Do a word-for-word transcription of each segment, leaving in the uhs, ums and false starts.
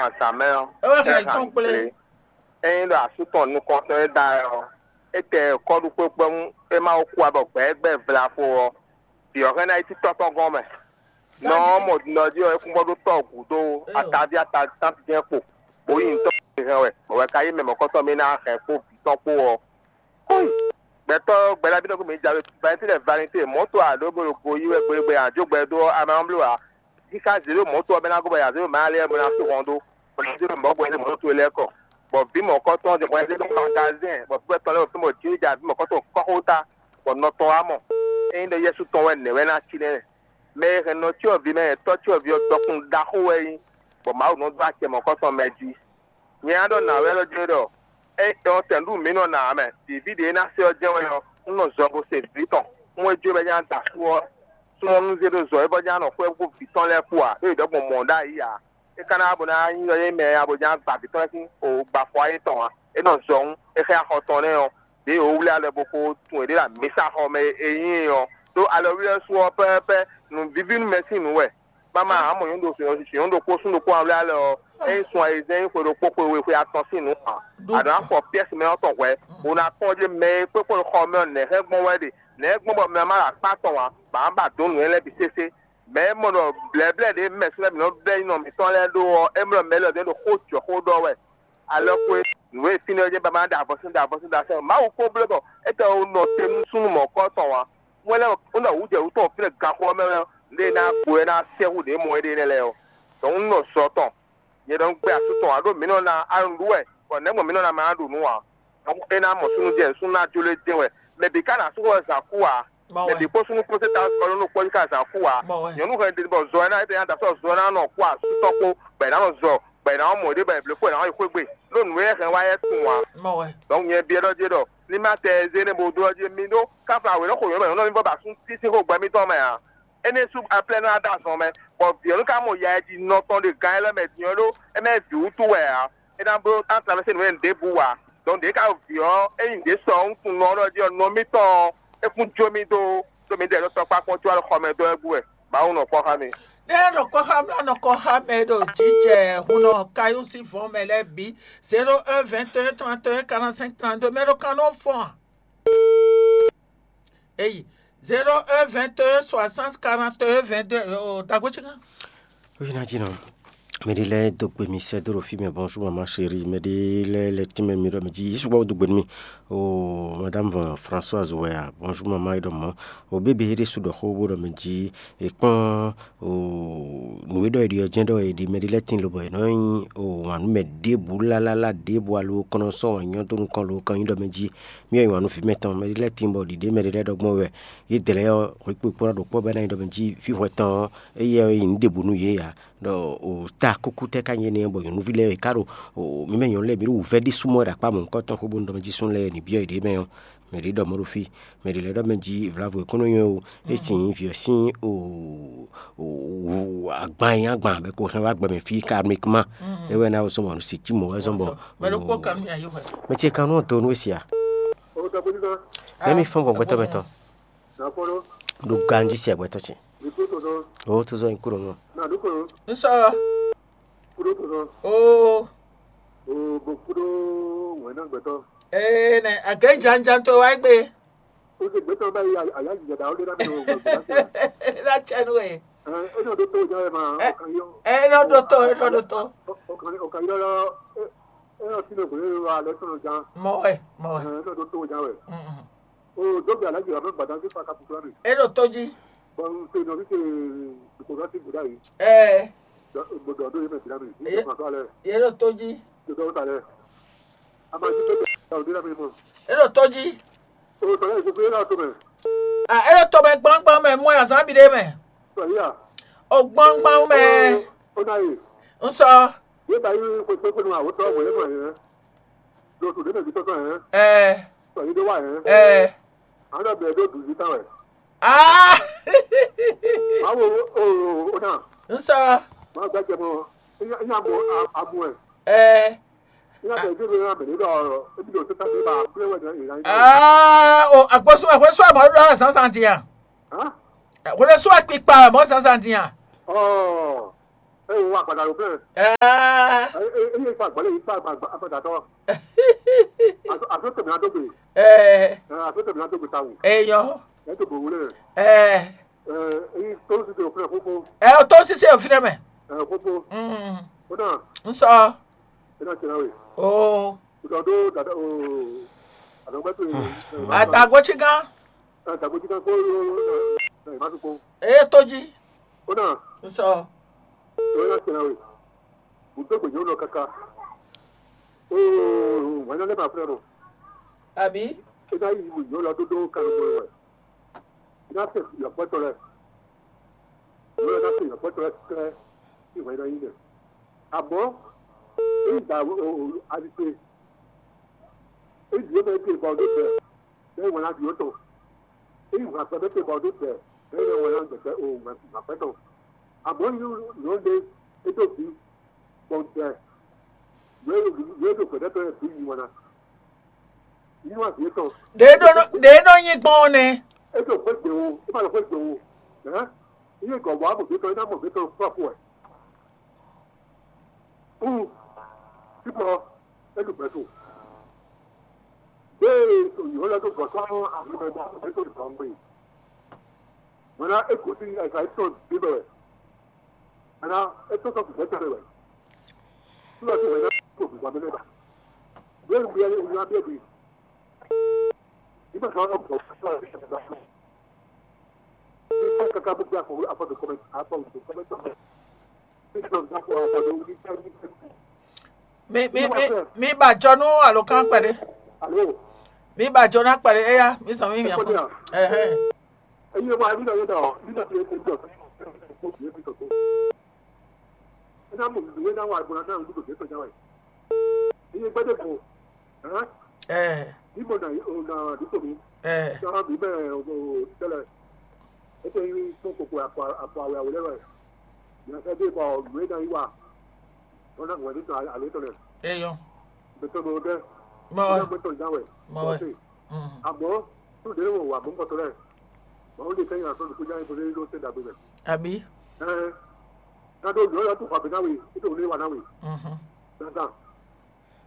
azǎn mɛ ɔ́, é wɛ hɛn tɔn kplé. Ényí ɖɔ asú tɔn nukɔntɔn e da ɛ ɔ́, é tɛ kɔ́ɖu kpékpé mú é má wó kú abɔ gbɛ̌gbɛ́ vlafo ɔ́, vǐ ɔ́ hɛn ná yi títɔ́ tɔn gɔ́n mɛ. Nɔ ɔ́ mɔ nɔ jí ɔ́, é kún bɔ ɖó tɔ́ gǔdo ataví ataví jɛ́n kpo, bó yi ntɔ́ hɛn wɛ, bɔ wɛ ka yí mɛ mɔ̌kɔtɔn mɛ ná hɛn kpó vǐ tɔn kpó ɔ́. Kúi! Gbɛtɔ́ gbɛɖábí nɔ kó mǐ ja we, Valentine Valentine, mɔ̌to ǎ ɖó bó ɖo go yí wɛ gbégbé ǎ, jó gbɛ dó ɔ́, amɛ ɔ́ bló ǎ. Jí ká zě ɖo mɔ̌to ɔ́ mɛ ná gɔ́ bɔ yǎ zé ɖo mɛ ɔ́ lɛ́ɛ bó ná sú hɔn dó, bó ná zé ɖo mɔ̌ gbɛ mɔ̌to lɛ́ɛ kɔ. Bɔ vǐ mɔ̌kɔtɔn ɔ́ jɛ hwɛ zé ɖó magazɛn, bɔ vǐ tɔn lɛ́ɛ ɖo fí bɔ Jǐ ja vǐ mɔ̌kɔtɔn kɔ́xota, bɔ nɔ tɔn wá mɔ. Ényí ɖɔ yɛ́sú tɔn wɛ nɛ̌ wɛ ná cí nɛ́? Mɛ e hɛn nɔ cyɔ́vǐ mɛ, tɔ́ cyɔ́vǐ ɔ́ dɔkun ɖaxó wɛ é nyí, bɔ Mawu nɔ dó acɛ mɔ̌kɔtɔn mɛ jí. Nyɛ ná ɖɔ nǎ wɛ ɖɔ jlé ɖɔ é dɔn tɛ̌nɖú mǐ nɔ ná ǎ mɛ, vǐví ɖě e ná se ɔ́ jɛ́n wɛ ɔ́, un nɔ zɔ bo se vǐ tɔn. Un e jó bɔ é ná da sú ɔ́, súnnu ɔ́ nú zé ɖó zɔ é bɔ é ná nɔ xwɛ kpó vǐ tɔn lɛ́ɛ kpó ǎ, é ɖɔ gbɔn mɔ̌ ɖ'ayǐ ǎ. É ka ná ba bó ná nyí ɖɔ é mɛ ǎ bó ná gba vǐ tɔn lɛ́ɛ sín o gbafɔ ayé tɔn ǎ. É nɔ zɔ hǔn é xlɛ́ axɔ tɔn nɛ́ ɔ́, ɖěe wǒ wlí alɔ bo ko tunwun yě ɖe ɖo amǐsaxɔ mɛ é nyí ɔ́, ɖó alɔwlíwlɛ́ sú ɔ́ pɛ́pɛ́ nǔvíví nú mɛ sín nǔ wɛ. Mama ǎ mɔ nyɔ̌nu ɖo nyɔ̌nu ɖokpó súnnu ɖokpó ǎ wlí alɔ ɔ́, é nyí sun ayizɛ́n nyí xwe ɖokpó xwe we xwe atɔn sín nǔ ǎ. Aɖǒ afɔ piɛ́si mɛ ɔ́ tɔn hwɛ̌, bó ná kpɔ́n ɖě mɛ e kpékpó xɔ mɛ ɔ́ nɛ̌ hɛn gbɔn wɛ ɖe, nɛ̌ gbɔn bɔ mɛ ɔ́ ma ɖo akpá tɔn ǎ, bɔ ǎ ba dǒ nǔ nyanya lɛ́ɛ bǐ sésé. Mɛ̌ mɔ ɖɔ blɛ̌blɛ́ ɖě mɛ sɛ́ mǐ nɔ blɛ́ nyi nɔ mǐtɔn lɛ́ɛ ɖó ɔ́, é mlɔ́ mɛ élɔ́ ɖě ɖo xó jɔ xó ɖɔ wɛ. Alɔkwe nǔ e fínɛ́ ɔ́ jɛ́n ba ma ɖa avɔ sín ɖa avɔ sín ɖa sɛ́n Mawu ko bló bɔ é tɛ nɔ te nú súnnu mɔ̌kɔ tɔn ǎ. Wɛn lɛ́ɛ un ɖɔ wǔ jɛ wǔ tɔn fínɛ́ ganxɔ ɔ́ mɛ wɛ lé ná gbo é ná sɛ́ hú ɖě mɔ éɖée nɛ́ lɛ́ɛ ɔ́. Dɔ̌n un nɔ zɔ tɔn. Nyɛ ɖɔ un gbɛ́ asú tɔn ǎ ɖó mǐ nɔ ná alun ɖu wɛ, bɔ nɛ̌ gbɔn mǐ nɔ ná ma ɖu nǔ ǎ? É ná mɔ súnnu jɛ súnnu ná jló é din wɛ. Mɛ bǐ ka ná sú wɛ zǎn kú ǎ. Mɛ bǐ kpó súnnu kpó sɛ́ ta ɔ́ nɔ kpɔ́ jí ká zǎn kú ǎ. Nyɔ̌nu hɛn ɖi bɔ zɔ ɛ ná é ná da sɔ́ zɔ ɛ ná nɔ kú asú tɔn kpó, bɔ è nǎ nɔ zɔ, bɔ è nǎ mɔ ɖě bɔ è blǒ kpó è nǎ yi xwé gbe. Ɖó nǔ e hɛn wá yɛ tunwun ǎ. Donc nyɛ biɛ ɖɔ jé ɖɔ ní má tɛ zé nɛ́ bo dó ɔ́ jí mi ɖó káfla wě nɔ xo nyɔ̌nu bɔ nyɔ̌nu bɔ ba sún sísí xó gbɛ mitɔn mɛ ǎ. Énɛ́ sú aplɛ́ nɔ ná ɖo azɔn mɛ, bɔ vǐ ɔ́ nú ka mɔ ya e jí nɔ tɔn ɖe gan élɔ́ mɛ din ɔ́ ɖó é mɛ vǐ wútu wɛ ǎ. É ná bló ná travɛ́sé nǔ e ɖěbǔ ǎ. Donc ɖě ka ɖo vǐ ɔ́, ényí ɖě sɔ ɔ́, un tunwun nɔ ɔ́ ɖɔ jí ɔ́, nɔ mitɔn ɔ́, é kún jó mì dó, ɖó mi ɖɛ ɖó tɔkpá kpɔ́n có alɔ xɔ mɛ dó wɛ gúdo wɛ. Mawu nɔ kpɔ́ xá mi. Ɖé nɔ kɔ xá mlá nɔ kɔ xá mɛ ɖo jǐjɛ hun nɔ kayɔ́ sín vɔ̌ mɛ lɛ́ɛ bǐ. Zéro un vingt et un trente et un quarante-cinq trente-deux mɛ ɖo kan nɔ fɔ́n a? Eyi, zéro un vingt et un soixante quarante et un vingt-deux. Dagbo ci kan. Oui, ná jí nɔ. Mɛɖé lɛ́ɛ dó gbe mi sɛ́ dó ɖo fí mɛ, bonjour maman chérie. Mɛɖé lɛ́ɛ lɛ tínmɛ mi ɖɔ mɛ jí Yesu gbɔ dó gbe nú mi. O madame Françoise wɛ a, bonjour maman e ɖɔ mɔ̌. O bébé e ɖésú ɖɔ xó bó ɖɔ mɛ jí è kpɔ́n o nǔ e ɖɔ è ɖi ɔ́ jɛ́n ɖɔ è ɖi mɛɖé lɛ́ɛ tín lobɔ è nɔ nyi o wǎn nú mɛ ɖěbǔ lálálá ɖěbǔ alo kɔn nɔ sɔ́ wǎn nyɔ́ dó nukɔn lo kɔn nyi ɖɔ mɛ jí mì wɛ nyi wǎn nú vǐ mɛtɔn mɛɖé lɛ́ɛ tín bɔ ɖiɖě mɛɖé lɛ́ɛ ɖɔ gbɔn wɛ yě dlɛ̌ ɔ́ hwǐkpo kpó ná ɖo kpɔ́ bɔ é ná nyi ɖɔ mɛ jí fí hwɛ tɔn ɔ́ éyɛ́ ɔ́ nyi nǔ ɖěbǔ nú yě ǎ. Ɖɔ o ta kúkú tɛ́ ka nyí énɛ́ bɔ nyɔ̌nuví lɛ́ɛ e ká ɖo o mǐ mɛ nyɔ̌nu lɛ́ɛ mǐ ɖo wǔvɛ́ ɖésú mɔ wɛ ɖo akpá mɔ̌hunkɔtɔn xwé bónú ɖɔ mɛ jí súnnu lɛ́ɛ ní byɔ́ yěɖée mɛ ɔ́, mɛ ɖě ɖɔ mɔ̌ ɖo fí, mɛ ɖě lɛ́ɛ ɖɔ mɛ jí vlavo è kún nɔ nywɛ́ o, é sin nyí vǐ ɔ́ sín o o agban e nyí agban bɔ è ko hɛn wá gbɛ mɛ fí karmiquement. É wɛ ná wosɔ́ mɔ nǔ si cí mɔ̌ wɛ zɔ́n bɔ mɛ ɖokpó kan nú yayó hwɛ. Mɛ ce kan nú ɔ́ do nú é sia. Mɛ mi fɔ́n gbɔn gbɛtɔ́ mɛ tɔn. Ɖo ganjí se agbɛtɔ ce. O to zɔ nyi kúrò nɔ. Nsɔ. Oo. Ee nɛ agɛnjanjan to wa gbe. Na tsɛ nu ye. Ɛ nɔ ɖo to, ɛ nɔ ɖo to, ɛ nɔ ɖo to. Mɔ wɛ, mɔ wɛ. Mm, mm. Ɛ nɔ ɖo to jí. Ɛ. Yě ɖo tó jí. Yě ɖo tó jí. A é ɖo tó mɛ gbɔngbɔn mɛ mɔ azán bi ɖé mɛ. O gbɔngbɔn mɛ. Un sɔ. Ɛ. Ɛ. Aa. Un sɔ. Ɛ. Aa o agbósúnmọ́, hwésú àmọ́ ló rà zánzán dín à. Hwésú àkpikpa àmọ́ zánzán dín à. Eye wɔ agbada ɖo fɛn. Aa, Eye fa agbada yi fa agbada tɔ. Aso tɛmɛ na dogbe. Ɛɛ, Aso tɛmɛ na dogbe tawu. Eyɔ. Ɛ to bo wule. Ɛɛ, Eye to si to fɛn fofo. Ɛ o to sise o fi ɖe mɛ. Ɛ fofo. Mm. Kódà N sɔ. Ena tɛna we. Oo. Kódà do dada o. Adɔgbɛ to. Adagbo tsi gán. Adagbo tsi gán kó. Eye to jí. Kódà N sɔ. Ena tɛna we. Bùdó gbèjò lọ kaka. Oo, wɛn lɛ ma fẹ́ lọ. Àbí? Ena yi wò yọ lọ dódó kanu wɛ. Ena tɛ yɔkpɔtɔ lɛ. Yɔ ena tɛ yɔkpɔtɔ lɛ kɛ. Ìwé ena yi nɛ. Àmọ́ èyí gbà alizé. Èyí yóò bẹ ké bɔ ọdún tẹ. Bẹ́ẹ̀ wọ́n á di ó tọ̀. Èyí wọ́n àpẹẹrẹ ké bɔ ọdún tẹ. Bẹ́ẹ̀ wọ́n á gbẹ̀tẹ̀ òun àpẹtọ̀. Àmọ́ yóò lè ètò bí bọ̀ǹtẹ̀. Yóò lè gbẹ̀dẹ́tọ̀ yẹn bí yìí wọn ná. Inú àbí ètò. Ɖě ɖó nɔ- ɖě nɔ nyi gbɔn ɔ́ nɛ. Ètò fẹ́ gbé o, é má lọ fẹ́ gbé o. Ẹ́ iye gɔ̀bọ̀ àbò gbé tán, iná mọ̀ gbé tán fún àpò ẹ̀. Ú, kíkọ́, ètò gbẹ̀tò. Bẹ́ẹ̀ ètò ìhó lọ́dún gbọ̀tán àbí mẹ́ta ètò ìtàn gbé. Mọ̀nà èkó sí ẹ̀ka ètò bíbẹ̀. Mọ̀nà ètò sọ̀tù gbẹ̀tò rẹ̀ wẹ̀. Tí wọ́n ti wẹ̀ náà kò gbìgbà mi lẹ́dà. Bẹ́ẹ̀ ni wíyá ni wíyá bẹ́ẹ̀ bí. Nígbà tí wọ́n lọ bọ̀ fún wa, ní ká káká bó gbé àfọwọ́ àfọwọ́ kọ́mẹ́ntì àfọwọ́ kọ́mẹ́ntì. Ní ká káká àfọwọ́ ní ká ní ká. Mi mi mi mi ba jɔ nú alo kan kpɛɖe. Alo. Mi ba jɔ na kpɛɖe eya mi sɔn mi mi akɔ. Ɛhɛn. Eye wa mi na ye da o, mi na ye ko jɔ. Ena mo mi na wa gbɔna na ŋdu do ke to jawe. Eye gbede ko. Ɛhɛn. Ɛ Ni mo na o na di ko mi. Ɛ Sara mi bɛ o tele. Ete yi ko ko ko akwa akwa awe awe le. Ya sa de ko mi na yi wa. Ona ngwe ni to ale to le. Eyɔ. Bɛ to mo de. Mɔ wɛ. Ona mo to jawe. Mɔ wɛ. Mhm. Àmọ́ tó dé wò wà mú kọtọ rẹ̀. Màá lè kẹ́yìn àtọ́ nìkú jáde tó dé ló ṣe dàgbé rẹ̀. Àbí? Ẹ ká tó lọ́ọ́ yọ tó fà bí náà wè é tó lé wà náà wè. Mhm. Dandan.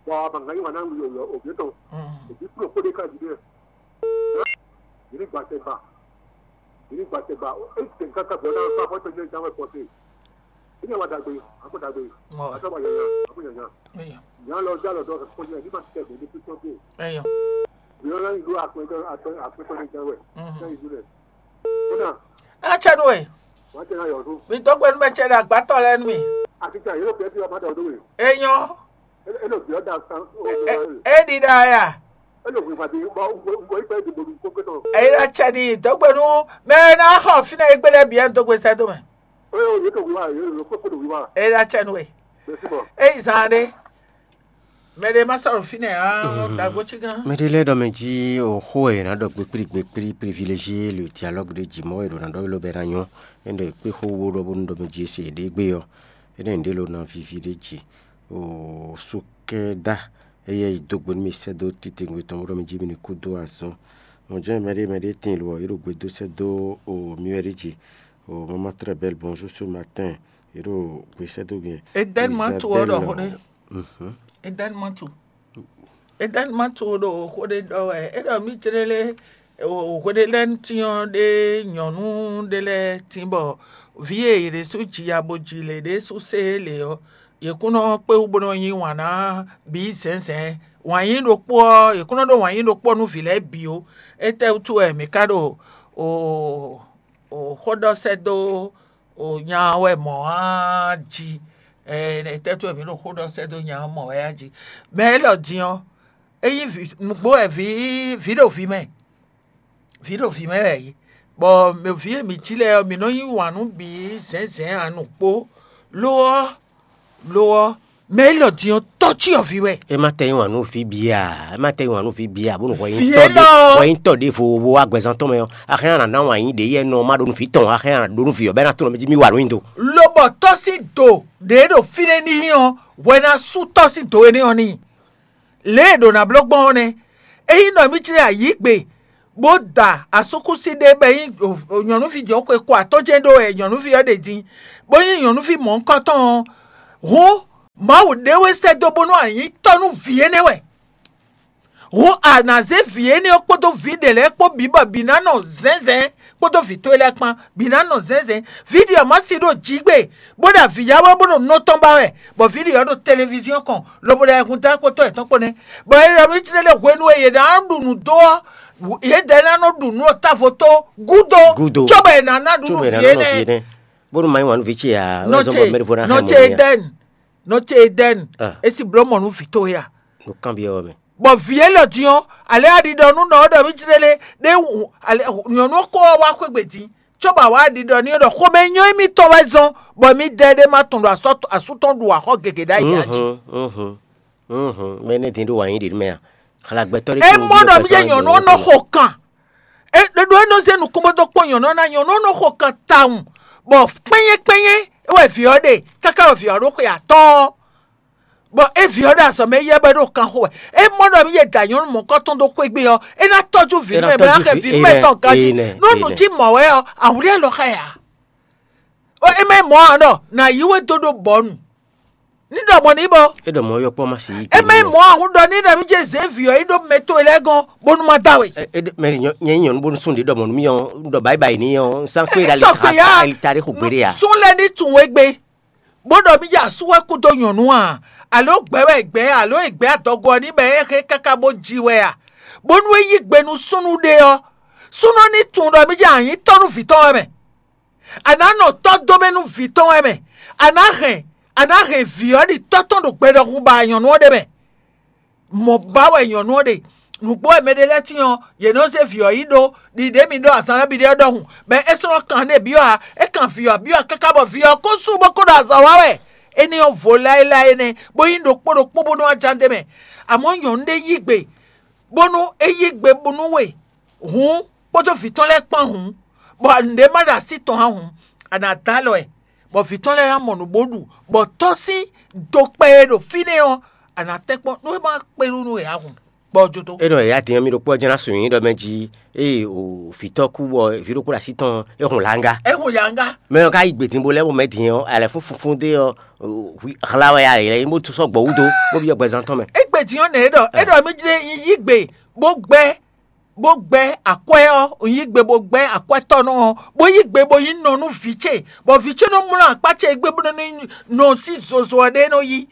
Bọ̀ àbàngá yìí wà náà wè òbí tán. Mhm. Òbí kúrò kó dé ká jìbí rẹ̀. Yìí gbàtẹ́ gbà. Yìí gbàtẹ́ gbà. É tẹ̀ nǹkan kan bọ̀ náà fún afọ́tẹ́ ní ìjáwé pọ̀ sí. Ilé wa dàgbé, àmú dàgbé. Mɔ wɛ. Àtọ́ wà yàyà, àmú yàyà. Eyɔ. Ìyá lọ já lọ́dọ̀ kó yẹ ní ma tẹ̀ mí ní pípọ́n tó. Eyɔ. Ìyá lọ ìlú àpẹẹrẹ àpẹẹrẹ àpẹẹrẹ ní ìjáwé. Mhm. Ní ìlú rẹ̀. Kódà, Atsɛ nú we. Wọ́n ti ra yọ̀ tó. Mi dó gbe nú mɛ ce ɖe agbátɔ lɛ nú mi. Àti tí àyè ló pẹ́ tí ọmọ dà ọdún rẹ̀. Eyɔ. Elo bí ọ̀dà san. E ɖi ɖa ya. Elo wí pàdé bọ́ ń bọ́ ìgbà ìdìbò ní kókó tán. Eyi ɖe atsɛ ni dó gbe nú mɛ e ná xɔ fínɛ́ e gbé lɛ́ɛ bǐ wɛ dó gbe sɛ́ dó mɛ. Ó yẹ òye tó wíwá, yóò lọ kókó tó wíwá. Eyi ɖe atsɛ nú we. Bẹ́ẹ̀ sí bọ̀. Eyi zan ɖe. Mɛ ɖe ma sɔrɔ fínɛ́ á dagbo cí gán. Mɛ ɖé lɛ́ɛ ɖɔ mɛ jí o xó e è nǎ ɖɔ gbekpíɖi gbekpíɖi privilégié le dialogue ɖé jí mɔ̌ e ɖo ná ɖɔ ló bɛ ná nyɔ́. É ɖɔ kpé xó wó ɖɔ bónú ɖɔ mɛ jí e se ɖě gbé ɔ́. É ɖɔ nǔɖé ló ná víví ɖé jí. O sukɛda eye yi dó gbe nú mi sɛ́ dó titewungbe tɔn bó ɖɔ mɛ jí mi ní kú dó azɔn. Mɔ̌ jɛ́n mɛ ɖé mɛ ɖé tíin lo ɔ́, é ɖo gbe dó sɛ́ dó o mi wɛ ɖé jí. O maman très belle, bonjour ce matin. É ɖo gbe sɛ́ dó mi. Eden mantu ɔ ɖɔ xó ɖé. Mhm. Eden mantu. Eden mantu ɖo xó ɖé ɖɔ wɛ. É ɖɔ mí jlé lé o hweɖélɛ́nútín ɔ́ ɖé nyɔ̌nu ɖé lɛ́ɛ tín bɔ vǐ e yě ɖésú ji ya bó ji lě ɖésú sé lě ɔ́, yě kún nɔ kpé wú bó nɔ yí wǎn ná bǐ zɛ̌nzɛ̌n. Wǎn yí ɖokpó ɔ́, yě kún nɔ ɖó wǎn yí ɖokpó ɔ́ nú vǐ lɛ́ɛ bǐ ó. Étɛ́ wútu wɛ mǐ ka ɖo o o xó ɖɔ sɛ́ dó o nya ɔ́ wɛ mɔ̌ á jí? Ɛ étɛ́ wútu wɛ mǐ ɖo xó ɖɔ sɛ́ dó nya ɔ́ mɔ̌ wɛ á jí? Mɛ élɔ́ din ɔ́, é nyí vǐ nǔgbó wɛ vǐ vǐ ɖo vǐ mɛ. Vǐ ɖo vǐ mɛ wɛ yě. Bɔ mɛ vǐ e mǐ cí lɛ́ɛ ɔ́, mǐ nɔ yí wǎn nú bǐ zɛ̌nzɛ̌n ǎ nǔgbó. Lo ɔ́, lo ɔ́, mɛ élɔ́ din ɔ́, tɔ́ cyɔ vǐ wɛ. É má tɛ yín wǎn nú vǐ bǐ a? É má tɛ yín wǎn nú vǐ bǐ a? Bónú hwɛ Vǐ yín tɔ́ ɖé élɔ́. Hwɛ yín tɔ́ ɖěvo wo wá gbɛzán tɔn mɛ ɔ́, axɛ́n a nǎ ná wǎn yín ɖě yɛ nɔ má ɖó nú vǐ tɔn, axɛ́n a nǎ ɖó nú vǐ ɔ́ bɔ é ná tlɔ́n mɛ jí mì wa nǔ nyi do. Lobɔ tɔ́ sín do ɖě ɖo fínɛ́ n'i ɔ́, hwɛ ná sú tɔ́ sín do énɛ́ ɔ́ n'i. Lě e ɖǒ ná bló gbɔn ɔ́ nɛ́. Ényí nɔ mì jlɛ́ ayǐ gbe bó da asúkúsi ɖé bɔ é nyí nyɔ̌nuví jɔ̌xwe ko atɔ́ jɛ́n ɖó wɛ nyɔ̌nuví ɔ́ ɖe din, bó nyí nyɔ̌nuví mɔ̌hunkɔtɔn ɔ́, hǔn Mawu ɖé wɛ sɛ́ dó bónú a nyǐ tɔ́ nú vǐ énɛ́ wɛ. Hǔn a nǎ zé vǐ énɛ́ ɔ́ kpódó vǐ ɖě lɛ́ɛ kpó bǐ bɔ bǐ ná nɔ zɛ̌nzɛ̌n kpódó vǐ towe lɛ́ɛ kpán, bǐ ná nɔ zɛ̌nzɛ̌n. Vǐ ɖě ɔ́ má si ɖo jǐgbe, bó ɖo avǐ ya wɛ bó ɖo nɔ tɔn ba wɛ, bɔ vǐ ɖě ɔ́ ɖo televíziɔn kɔn, lobo ɖo ayɛhun dó akpótɔ́ yětɔn kpó nɛ́. Bɔ é ɖɔ nú Ísírɛ́li hwenu e yě ná ɖu nǔ dó ɔ́, yědɛɛ ná nɔ ɖu nǔ ɖo távo tó gúdo, Gúdo. Cóbɔ è nǎ ná ɖu nú vǐ énɛ́. Bónú ma nyí wǎn nú vǐ ce ǎ, wɛ zɔ́n bɔ mɛɖevo ná hɛn mɔ̌ n'i ǎ. Nɔ ce Edɛ́ni, nɔ ce Edɛ́ni, Ah. É si bló mɔ nú vǐ towe a? Nú kanbyɔ́ ɔ́ mɛ. Bɔ vǐ élɔ́ din ɔ́, alě a ɖi ɖɔ nú nɔ ɔ́ ɖɔ mí jlé lé ɖé wú alě nyɔ̌nu ɔ́ kó ɔ́ wá xwé gbe din, cóbɔ a wá ɖi ɖɔ n'i ɖɔ xomɛ nyɔ́ émítɔn wɛ zɔ́n, bɔ mí dɛ ɖé má tɔn ɖo asú tɔn ɖu axɔ́ gěgé ɖ'ayǐ jí. Mɛ énɛ́ din ɖó wǎn yí ɖě mɛ a? Xlagbɛtɔ́ ɖé É mɔ ɖɔ mí jɛ nyɔ̌nu ɔ́ nɔ xo kan. É ɖo é nɔ zé nukún bó dó kpɔ́n nyɔ̌nu ɔ́ ná, nyɔ̌nu ɔ́ nɔ xo kan tawun, bɔ kpɛ́nyɛ́ kpɛ́nyɛ́ é wɛ vǐ ɔ́ ɖe káká bɔ vǐ ɔ́ ɖó xwe atɔ́ɔ́n. Bɔ é vǐ ɔ́ ɖo azɔ̌ mɛ yɛ bɔ é ɖo kan xo wɛ. É mɔ ɖɔ mí yɛ da nyɔ̌nu mɔ̌kɔtɔn dó xwé gbé ɔ́, é ná tɔ́jú vǐ nú mɛ bɔ é ná xɛ vǐ nú mɛ tɔn ganjí. Nú nǔ cí mɔ̌ wɛ ɔ́, awǔ ɖé lɔ xá ɛ ǎ. É mɛ mɔ̌ ǎ ɖɔ nǎ yí we dó ɖó bɔ̌nu. Ní ɖɔ mɔ̌ ní bɔ. É ɖɔ mɔ̌ yɔkpɔ́ má si yí. É mɛ mɔ̌ ahun ɖɔ ní ɖɔ mí jɛ zě vǐ ɔ́ yi ɖó mɛ towe lɛ́ɛ gɔ́n bónú má da we. Mɛ nyɛ nyí nyɔ̌nu bónú sún ɖě ɖɔ mɔ̌ nú mì ɔ́, un ɖɔ bǎyi bǎyi n'i ɔ́, un sán kpé ɖo ali ta ɖé xo gbeɖé ǎ. Sún lɛ́ ní tunwun égbé, bó ɖɔ mí jɛ asú wɛ kú dó nyɔ̌nu a? Alo gbɛ̌ wɛ gbɛ̌ alo e gbɛ̌ adɔgo ɔ́ ní bɔ é hɛn káká bó ji wɛ a? Bónú é yí gbe nú súnnu ɖé ɔ́, súnnu ɔ́ ní tunwun ɖɔ mí jɛ anyǐ tɔ́ nú vǐ tɔn wɛ mɛ. A nǎ nɔ tɔ́ dó mɛ nú vǐ tɔn wɛ mɛ. A nǎ hɛn a nǎ hɛn vǐ ɔ́ ɖi tɔ́ tɔn ɖo gbe ɖɔhun ba nyɔ̌nu ɔ́ ɖe mɛ. Mɔ̌ ba wɛ nyɔ̌nu ɔ́ ɖe. Nǔgbó wɛ mɛɖé lɛ́ɛ tín ɔ́, yě nɔ zé vǐ ɔ́ yi ɖó ɖiɖě mi ɖó azǎn ɔ́ bǐ ɖe ɔ́ ɖɔhun, bɔ é sɔ́ nɔ kan ɖé byɔ́ ǎ. É kan vǐ ɔ́ byɔ́ káká bɔ vǐ ɔ́ ko sú bó ko ɖo azɔ̌ wa wɛ. Énɛ́ ɔ́ vo láéláé énɛ́, bó nyí ɖokpó ɖokpó bónú wá ján d'é mɛ. Amɔ̌ nyɔ̌nu ɖé yí gbe, bónú é yí gbe bónú we hǔn, kpódó vǐ tɔn lɛ́ɛ kpán hǔn, bɔ nǔɖé má ɖo así tɔn ǎ hǔn, a nǎ dó alɔ ɛ, bɔ vǐ tɔn lɛ́ɛ ná mɔ nǔ bó ɖu, bɔ tɔ́ sín dokpɛ e ɖo fínɛ́ ɔ́, a nǎ tɛ́nkpɔ́n nú é má kpé nú nú è ǎ hǔn, bɔ ɔ́ jó dó. É nɔ yǎ din ɔ́, mì ɖokpó ɔ́ jɛ́n ná sun nyi ɖɔ mɛ jí ée o vǐtɔ́ kú bɔ vǐ ɖokpó ɖo así tɔn é hun langa. É hun langa. Mɛ ɔ́ ka yi gbědínbó lɛ́ɛ bɔ mɛ din ɔ́, alɛ fún funfun dé ɔ́, hla wɛ alɛ lɛ́ɛ bó sɔ́ gbɔ wúdo bó byɔ́ gbɛzán tɔn mɛ. É gbědín ɔ́ nɛ̌ é ɖɔ é ɖɔ mí jlé yí gbe bó gbɛ́ bó gbɛ́ akwɛ́ ɔ́, un yí gbe bó gbɛ́ akwɛ́tɔ́nɔ ɔ́, bó yí gbe bó yí nɔ nú vǐ ce, bɔ vǐ ce nɔ mlɔ́ akpá ce égbé bó nɔ nɔ sín zozo ɔ́ ɖé nɔ yí.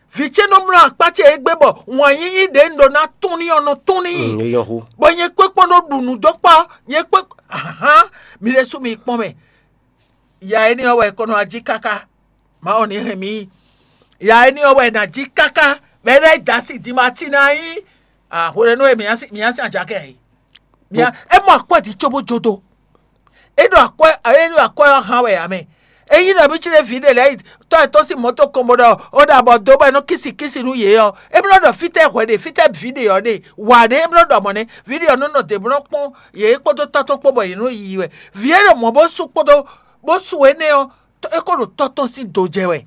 Vǐ ce nɔ mlɔ́ akpá ce égbé bɔ wǎn yíyí ɖě un ɖó ná tún n'i ɔ́ nɔ tún n'i. Bɔ nyɛ kpé kpɔ́n nɔ ɖu nǔ dó kpá, nyɛ kpé, ahan, mi ɖésú mi kpɔ́n mɛ. Ya énɛ́ ɔ́ wɛ è ko nɔ wá jí káká. Mawu ní hɛn mì yi. Ya énɛ́ ɔ́ wɛ è nǎ jí káká, bɔ é ná yi dǎ sin din ma cí ná nyí hwenɛ́nu e mǐ ná sin ajakɛ ǎ é. É mɔ akwɛ́ din cóbó jó dó. É ɖo akwɛ́ é ɖo akwɛ́ ɔ́ hán wɛ ǎ mɛ. Ényí nɔ mí cí ɖé vǐ ɖé lɛ́ɛ yi tɔ́ yětɔn sín mɔ̌ tɔn kɔn bó ɖɔ ó ɖo abɔ dó bɔ é nɔ kísi kísi nú yě ɔ́, é bló ɖɔ fítɛ́ hwɛ ɖe, fítɛ́ vǐ ɖe ɔ́ ɖe, wǎ ɖé é bló ɖɔ mɔ̌ nɛ́. Vǐ ɖe ɔ́ nɔ nɔ dě bló kpɔ́n yě kpódó tɔ́ tɔn kpó bɔ yě nɔ yiyi wɛ. Vǐ e ɖo mɔ̌ bó sú kpódó bó sú énɛ́ ɔ́, é ko ɖo tɔ́ tɔn sín do jɛ wɛ.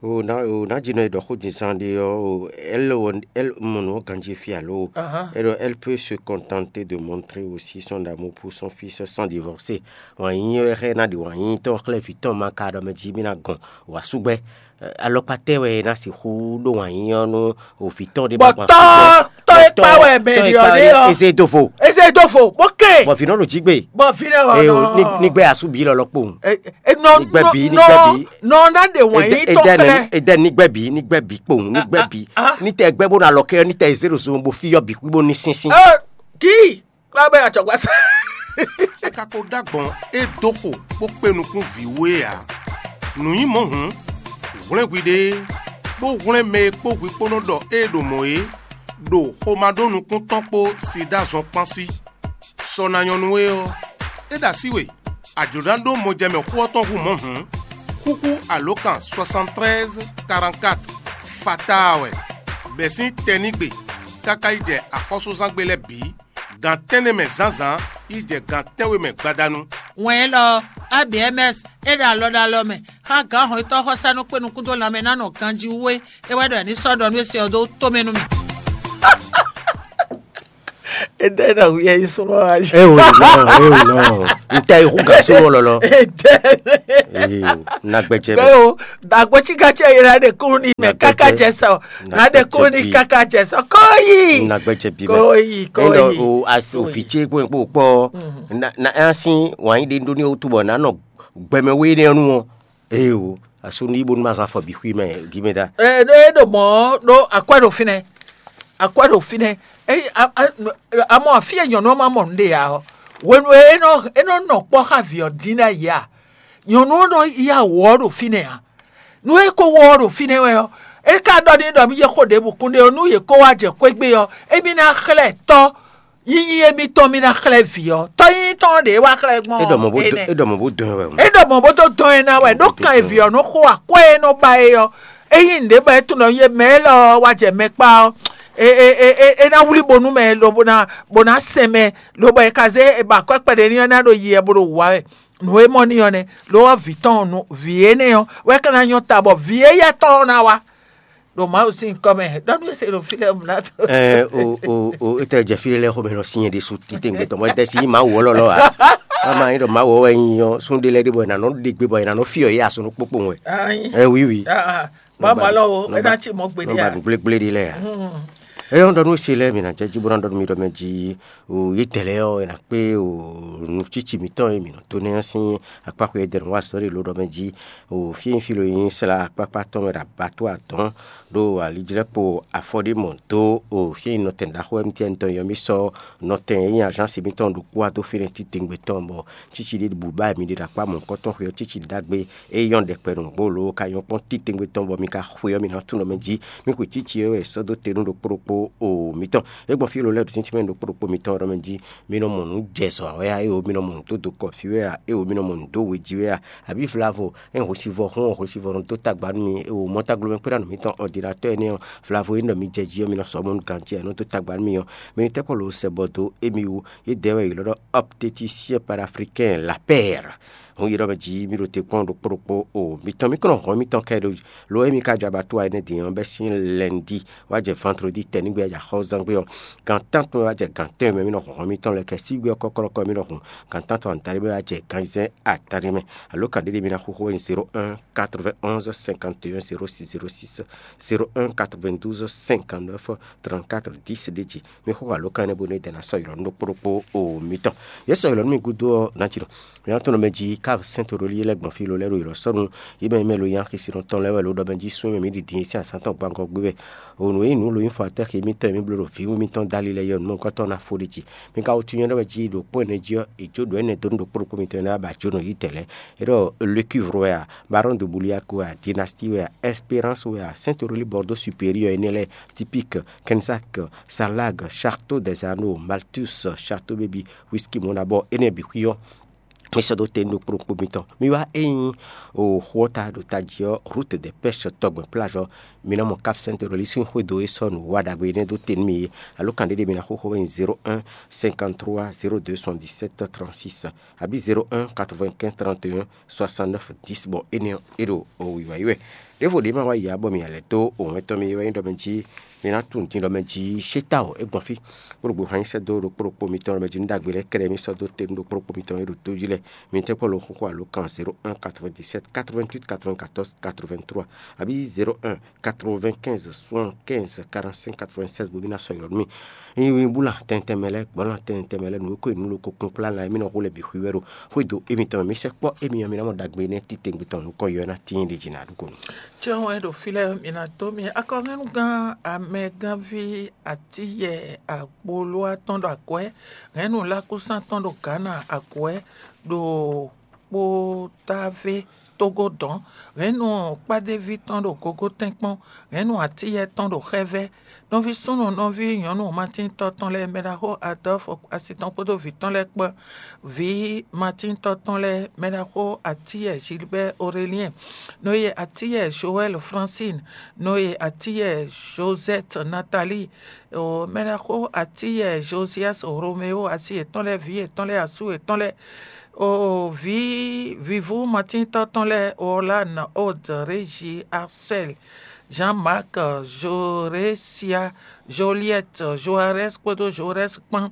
O ná o ná jí nɔ e ɖɔ xó jínzán ɖé ɔ́, o, elle, elle mɔ nǔ ɔ́ ganjí fí alo? Ahan. Elle, elle peut se contenter de montrer aussi son amour pour son fils sans divorcer. Wǎn yíyí ɔ́ xlɛ́ ná ɖi wǎn yíyí tɔn xlɛ́ vǐ tɔn ma ka ɖɔ mɛ jí mì ná gɔn wǎ súgbɛ́. Alɔkpa tɛ́ wɛ é ná sixú ɖó wǎn yíyí ɔ́ nú o vǐ tɔn ɖé bɔ tɔ́ tɔ́ e kpa wɛ mɛ ɖi ɔ́ ɖé ɔ́, eze do vo. Eze do vo bó ke. Bɔ vǐ nɔ ɖo jí gbe. Bɔ vǐ nɔ ɔnɔ. Ní gbɛ asú bí lɔlɔ kpowun. Ní gbɛ bí, ní gbɛ bí. Nɔ ná ɖe wǎn yí tɔn xlɛ́. Edɛ ní gbɛ bí, ní gbɛ bí kpowun, ní gbɛ bí. Ní tɛ gbɛ bó na lɔ kɛ, ní tɛ zé ɖo zɔn bó fí yɔ bí kú bó ní sínsín. Kí kpá bɛ àtsɔgbá sá. Káká kó ɖó agbɔn é dó xo bó kpé nukún vǐ wú é ǎ. Nǔ nyí mɔ̌ hǔn, hwlɛ́n hwi ɖe, bó hwlɛ́n mɛ e kpó hwi kpó nɔ ɖɔ é ɖo mɔ̌ é, ɖo xomá ɖó nukún tɔn kpó Sidáa zɔn kpán sí. Sɔ ná nyɔ́ nú we ɔ́, é ɖo así we, a jlǒ ná ɖó mɔjɛmɛ xó ɔ́ tɔn hú mɔ̌ hǔn, xúxú alǒkan soixante-treize quarante-quatre fataa wɛ, bɛ̌ sín tɛnígbe káká yi jɛ axɔ́súzángbe lɛ́ɛ bǐ, gan tɛ́nnɛ mɛ zǎnzǎn yi jɛ gan tɛ́nwe mɛ gbadanu. Wɛn élɔ́ ɔ́, A B M S é ɖo alɔ ɖo alɔ mɛ xá gǎn hɔnnyitɔ́ xɔsánú kpé nukún dó lanmɛ ná nɔ ganjí wú é. É wɛ ɖɔ è ní sɔ́ ɖɔ nú é se ɔ́ dó tomɛ nú mì. Ede na hu yɛ yi súnmọ́ wa jí. Ewu nɔ, ewu nɔ. N tɛ yi hu gã súnmọ́ lɔlɔ. Ede. Ewu, na gbɛjɛ bɛ. Bẹ́ẹ̀ o, dàgbé tí gàtí ẹ̀yẹ náà dé kúrú ní mẹ́ káká jẹ sọ. Náà dé kúrú ní káká jẹ sọ. Kóyì. Na gbɛjɛ bi mɛ. Kóyì, kóyì. O asi òfin tse kó kó kpɔ. Na na asi wàá yi dé ndó ní o túbọ̀ nánɔ gbɛmɛ wé ní ɔnu ɔ. Ewu, asu ní bónú ma zán afɔ bǐ xwí mɛ gímɛ dá. Ɛ ɖó é ɖo mɔ̌ ɖó akwɛ́ ɖo fínɛ́, akwɛ́ ɖo fínɛ́. Ényí a- a- a mɔ afí e nyɔ̌nu ɔ́ ma mɔ nǔɖé ǎ ɔ́, hwenu e é nɔ é nɔ nɔ kpɔ́ xá vǐ ɔ́ dín ɖ'ayǐ a, nyɔ̌nu ɔ́ nɔ yá wǔ ɔ́ ɖo fínɛ́ ǎ. Nú é ko wɔ ɔ́ ɖo fínɛ́ wɛ ɔ́, é ka ɖɔ n'i ɖɔ mì yi xo ɖěbǔ kún ɖé ɔ́, nú yě ko wá jɛ xwé gbe ɔ́, émí ná xlɛ́ tɔ́ yíyí émítɔn mì ná xlɛ́ vǐ ɔ́. Tɔ́ yíyí tɔn ɖě wá xlɛ́ gbɔn. É ɖɔ mɔ̌ bó dɔn, é ɖɔ mɔ̌ bó dɔn ɛ wɛ. É ɖɔ mɔ̌ bó dó dɔn ɛ ná wɛ ɖó kan e vǐ ɔ́ nɔ xo akwɛ́ e nɔ ba é ɔ́. Ényí nǔɖé bɔ é tunɔ yé mɛ élɔ́ ɔ́ wá jɛ mɛ kpá ɔ́, é é é é é ná wlí bo nú mɛ lobo ná bó ná sɛn mɛ, lobo é ka zé é ba akwɛ́ kpɛɖé ní ɔ́ ná ɖo yi ɛ bó ɖo wǔ wá wɛ. Nǔ e mɔ n'i ɔ́ nɛ́, lo ɔ́ vǐ tɔn ɔ́ nú vǐ énɛ́ ɔ́ wɛ ka ná nyɔ́ ta bɔ vǐ éyɛ́ tɔn ɔ́ ná wá. Ɖo Mawu sín nyǐkɔ mɛ, ɖɔ nú é se ɖo fí lɛ́ɛ mlá tó. Ɛ o o o etɛ jɛ fí lɛ xɔmɛ nɔ sin yɛ ɖésú titewungbe tɔn mɔ etɛ si Mawu wɔ lɔlɔ a. Ama yi ɖɔ Mawu wɔ wɛ nyi ɔ sún ɖé lɛ ɖé bɔ yɛ nanɔ ɖe gbe bɔ yɛ nanɔ fi ɔ yɛ asɔnɔ kpokpo wɛ. Ayi. Ɛ wi wi. Ah, ah. Ba ma lɔ o, e na tsi mɔ gbe Nɔ ɖe ba a. Gblégblé ɖi lɛ a. Hmm. Ɛ yɔ ɖɔ nú se lɛ mi na jɛ jí bó na ɖɔ nú mi ɖɔ mɛ jí o yi tɛlɛ ɔ e na kpé o nu tsitsi mitɔn e mi nɔ to nɛ sín akpákpé e dɛnú wa sɔ́ ɖe lo ɖɔ mɛ jí o fí e fí lo nyi sla akpákpá tɔn mɛ ɖo abattoir tɔn ɖo alijlɛ́kpo afɔɖímɔ dó o fí e nɔtɛn ɖaxó M T N tɔn yɔ mì sɔ́ nɔtɛn e nyí agence mǐtɔn ɖokpó wá dó fínɛ́ titewungbe tɔn bɔ tsitsi ɖé bu ba mi ɖe ɖo akpá mɔ̌hunkɔtɔn xwe ɔ́ tsitsi ɖagbe e nyɔ́ ɖɛkpɛ nǔgbó lo ka nyɔ́ kpɔ́n titewungbe tɔn bɔ mi ka xwe ɔ́ mi ná tunɔ mɛ jí mi xwe tsitsi e wɛ sɔ́ dó te nú ɖokpó ɖokpó o mǐtɔn. É gbɔn fí lo lɛ́ɛ ɖo tɛ́ntin mɛ ɖokpó ɖokpó mǐtɔn ɖɔ mɛ jí mi nɔ mɔ nǔ jɛ zɔ wɛ a, éwo mi nɔ mɔ nǔ dó dokɔ fí wɛ a, éwo mi nɔ mɔ nǔ dó we jí wɛ a, abǐ vlavo é hwesivɔ́ hún ɔ́, hwesivɔ́ nɔ dó tagba nú mi, é wo mɔ taglo mɛ kpéɖa nú mǐtɔn ɔdinatɔ́ énɛ́ ɔ́, vlavo e nɔ mi jɛ jí ɔ́, mi nɔ sɔ́ mɔnú ganjí ɛ nɔ dó tagba nú mi ɔ́, mi ní tɛ́ kɔ lo sɛ bɔ dó émi wú, yě dɛ́ wɛ yě lɔ́ ɖɔ optéticien panafricain la paire. Hun yi ɖɔ mɛ jí mi ɖo te kpɔ́n ɖokpó ɖokpó o, mitɔn mi kɔn nɔ hɔn mitɔn kɛ ɖo lo émi ka jɔ abattoir énɛ́ din ɔ́ bɛ́ sín lundi wá jɛ vendredi tɛnigbe wá jɛ axɔ́zangbe ɔ́, gan tántɔn wá jɛ gan tɛ́nwe mɛ mi nɔ hɔn hɔn mitɔn lɛ́ɛ kɛ sígbe ɔ́ kɔ́kɔ́lɔ́kɔ́ mi nɔ hun gan tántɔn adaɖé mɛ wá jɛ gan zɛ́n adaɖé mɛ. Alo kan ɖé mi ná xóxó wɛ zéro un quatre-vingt-onze cinquante et un zéro six zéro six, zéro un quatre-vingt-douze cinquante-neuf trente-quatre dix ɖé jí. Mi xóxó alo kan énɛ́ bónú é dɛ́ ná sɔ́ ylɔ̌ nú ɖokpó ɖokpó o mitɔn. Yě sɔ́ ylɔ̌ nú mi gúdo ɔ́, ná jí ɖɔ mi ná tunɔ mɛ jí ká sɛ́n to ɖo lɛ́ɛ gbɔn fí lo lɛ́ɛ ɖo ylɔ̌ sɔ́ nú yě mɛ mɛ lo nyi axisínɔ tɔn lɛ́ɛ wɛ lo ɖɔ mɛ jí sún mɛ mǐ ɖi din sín azǎn tɔn gbangɔ gbé wɛ. O nǔ e nyí nǔ lo nyí fɔ atɛ́ xe mitɔn e mǐ bló ɖo vǐwú mitɔn dali lɛ́ɛ yɔ nǔmɔ̌hunkɔtɔn ná fó ɖi jí. Mi ka wútu nyɔ́ ɖɔ wɛ jí ɖo kpɔ́ ɛnɛ jí ɔ́, è jó ɖǒ ɛnɛ dó nú ɖokpó ɖokpó mitɔn e ná ba jó nɔ yí tɛ̌ lɛ́ɛ. É ɖɔ Lécuivre wɛ a, Baron de Bouliac wɛ a, Dynastie wɛ a, Espérance wɛ a, Saint-Aurélie Bordeaux Supérieur énɛ́ lɛ́ɛ, Typique, Kensac, Sarlag, Château des Anneaux, Malthus, Château Baby, Whisky Monabor, énɛ́ bǐ xwí ɔ́, mi sɔ́ dó te nú ɖokpó ɖokpó mitɔn. Mi wá é nyí o xó ɔ́ ta ɖo tají ɔ́, Route des Pêches tɔgbɛn plage ɔ́, mi ná mɔ Cap Saint-Aurélie sín xwédo e sɔ́ nǔwiwa ɖagbe énɛ́ dó te nú mi é. Alo kan ɖé ɖé mi ná xóxó wɛ nyí zéro un cinquante-trois zéro deux soixante-dix-sept trente-six abǐ zéro un quatre-vingt-quinze trente et un soixante-neuf dix bɔ énɛ́ ɔ́ é ɖo o wǐwá yi wɛ. Ɖěvo ɖě ma wá yi ǎ bɔ mǐ lɛ́ dó òwɛ́ntɔ́ mi e wɛ nyí ɖɔ mɛ jí mi ná tunwun din ɖɔ mɛ jí sétáwɔ é gbɔn fí. Kpóɖo gběhan nyi sɛ́ dó ɖokpó ɖokpó mitɔn ɖɔ mɛ jí nú ɖagbe lɛ́ɛ kɛ́ɖɛ́ mi sɔ́ dó te nú ɖokpó ɖokpó mitɔn e ɖo tó jí lɛ́ɛ. Mi tɛ́ kpɔ́ lo xóxó alo kan zéro un quatre-vingt-dix-sept quatre-vingt-huit quatre-vingt-quatorze quatre-vingt-trois abǐ zéro un quatre-vingt-quinze soixante-quinze quarante-cinq quatre-vingt-seize bó bí ná sɔ́ ylɔ́ nú mì. Nyi búla tɛntɛn mɛ lɛ́ɛ, gbɔ̌lan tɛntɛn mɛ lɛ́ɛ, nǔ e ko nǔ lo ko kplɔ́n plán la, émí nɔ hu lɛ bǐ xwí wɛ ɖo xwédo émítɔn mɛ. Mi sɛkpɔ́ émí ɔ́, mi ná mɔ ɖagbe énɛ́ titewungbe tɔn nukɔn yɔ ná tíin ɖě jí ná ɖu ko nú. Cɛ́ wɛn ɖo fí lɛ́ɛ mǐ ná dó mi akɔhɛnnugán amɛgánví Atíyɛ Agbolóa tɔn ɖo akwɛ́, hɛ̌nnu Lákúsán tɔn ɖo Gǎna akwɛ́, ɖo Kpotávé Tógó dɔ̌n, hɛ̌nnu kpádéví tɔn ɖo Gogótɛ́nkpɔ́n, hɛ̌nnu Atíyɛ tɔn ɖo Xɛ́vɛ́, nɔví súnnu nɔví nyɔ̌nu Matíntɔ́ tɔn lɛ́ɛ, mɛɖaxó Adɔ́fu asi tɔn kpódó vǐ tɔn lɛ́ɛ kpó, vǐ Matíntɔ́ tɔn lɛ́ɛ, mɛɖaxó Atíyɛ Gilbert Aurélien, nɔyɛ Atíyɛ Joël Francine, nɔyɛ Atíyɛ Josette Nathalie, o, mɛɖaxó Atíyɛ Josias Roméo, asi yětɔn lɛ́ɛ, vǐ yětɔn lɛ́ɛ, asú yětɔn lɛ́ɛ, o, vǐ vǐvú Matíntɔ́ tɔn lɛ́ɛ, Orlane, Aude, Régie, Arcel, Jean-Marc, Jorésia, Joliette, Joarès kpódó Joarès kpán.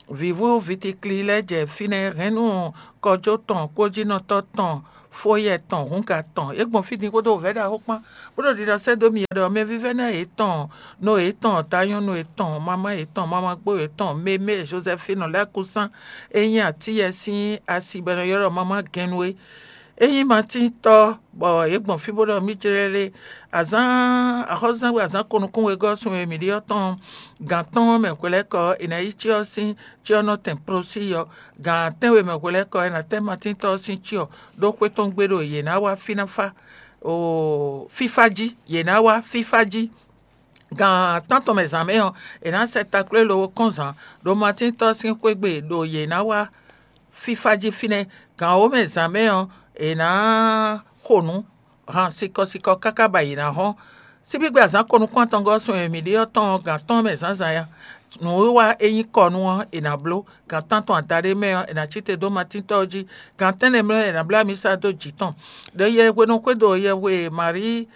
Vǐvú Vitikli lɛ́ɛ jɛ fínɛ́ hɛ̌nnu kɔjó tɔn, kpójínɔtɔ́ tɔn, fóyɛ tɔn, hǔnga tɔn. É gbɔn fí din kpódó wǔvɛ́ ɖaxó kpán, bó ɖo ɖiɖɔ sɛ́ dó mì ɖɔ mɛ vívɛ́ná yětɔn, nɔ yětɔn, tanyɔ́nú yětɔn, mamá yětɔn, mamá gbó yětɔn, mémé Jozɛfinu lɛ́ɛ kúsán, é nyí atíyɛ sín asi bɔ è nɔ ylɔ́ ɖɔ mamá gɛnnu é. É nyí Matíntɔ́, bɔ yě gbɔn fí bó ɖɔ mì jlɛ́ lé. Azǎn axɔ́súzán we azǎn ko nukún wegɔ́ sun e mǐ ɖe ɔ́ tɔn gǎn tɔn mɛ hwelɛ́kɔ è nǎ yí cyɔ sín cyɔ́nɔtɛn prosí ɔ́, gǎn tɛ́nwe mɛ hwelɛ́kɔ è nǎ tɛ́ Matíntɔ́ ɔ́ sín cyɔ ɖó xwé tɔn gbe ɖo yě ná wá fínáfá oo fífá jí, yě ná wá fífá jí. Gan tántɔn mɛ zǎn mɛ ɔ́, è nǎ sɛ taklwé lobo kɔn zǎn ɖo Matíntɔ́ sín xwé gbe ɖo yě ná wá fífá jí fínɛ́. Gan wǒ mɛ zǎn mɛ ɔ́, è nǎ xo nǔ han sikɔsikɔ káká ba yě ná hɔ́n. Síbígbe azǎn ko nukún atɔngɔ́ sun e mǐ ɖe ɔ́ tɔn ɔ́, gan tɔn mɛ zǎnzǎn ya. Nǔwiwa e nyí kɔ nú ɔ́, è nǎ bló. Gan tántɔn adaɖé mɛ ɔ́, è nǎ cí te dó Matíntɔ́ ɔ́ jí. Gan tɛ́nnɛ mɛ ɔ́, è nǎ bló amisa dó jǐ tɔn. Ɖo yɛ hwenu xwédo yɛhwe Marí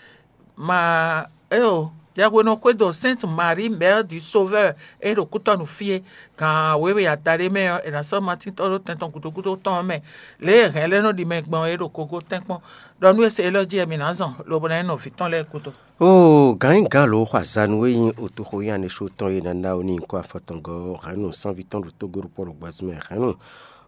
ma éyo yɛhwenu xwédo Sainte Marie, Mère du Sauveur, e ɖo kútɔ́ nǔ fí é, gan wěwe adaɖé mɛ ɔ́, è nǎ sɔ́ Matín tɔ́ ɖó tɛn tɔn gǔdo gúdo tɔn ɔ́ mɛ. Lě e hɛ̌n lɛ́ɛ nɔ ɖi mɛ gbɔn é ɖo kogo tɛ́nkpɔ́n, ɖɔ nú e se élɔ́ jí wɛ mǐ ná zɔn, lobo ná nyí nɔ vǐ tɔn lɛ́ɛ gúdo. Oo, gǎn nyí gǎn lǒ xɔ azanu e nyí otoxo nyí anisú tɔn e ná ná ó n'i kó afɔtɔngɔ́ ɔ́, hɛ̌nnu sánví tɔn ɖo tógó ɖokpó ɖo gbɛzún mɛ hɛ̌nnu.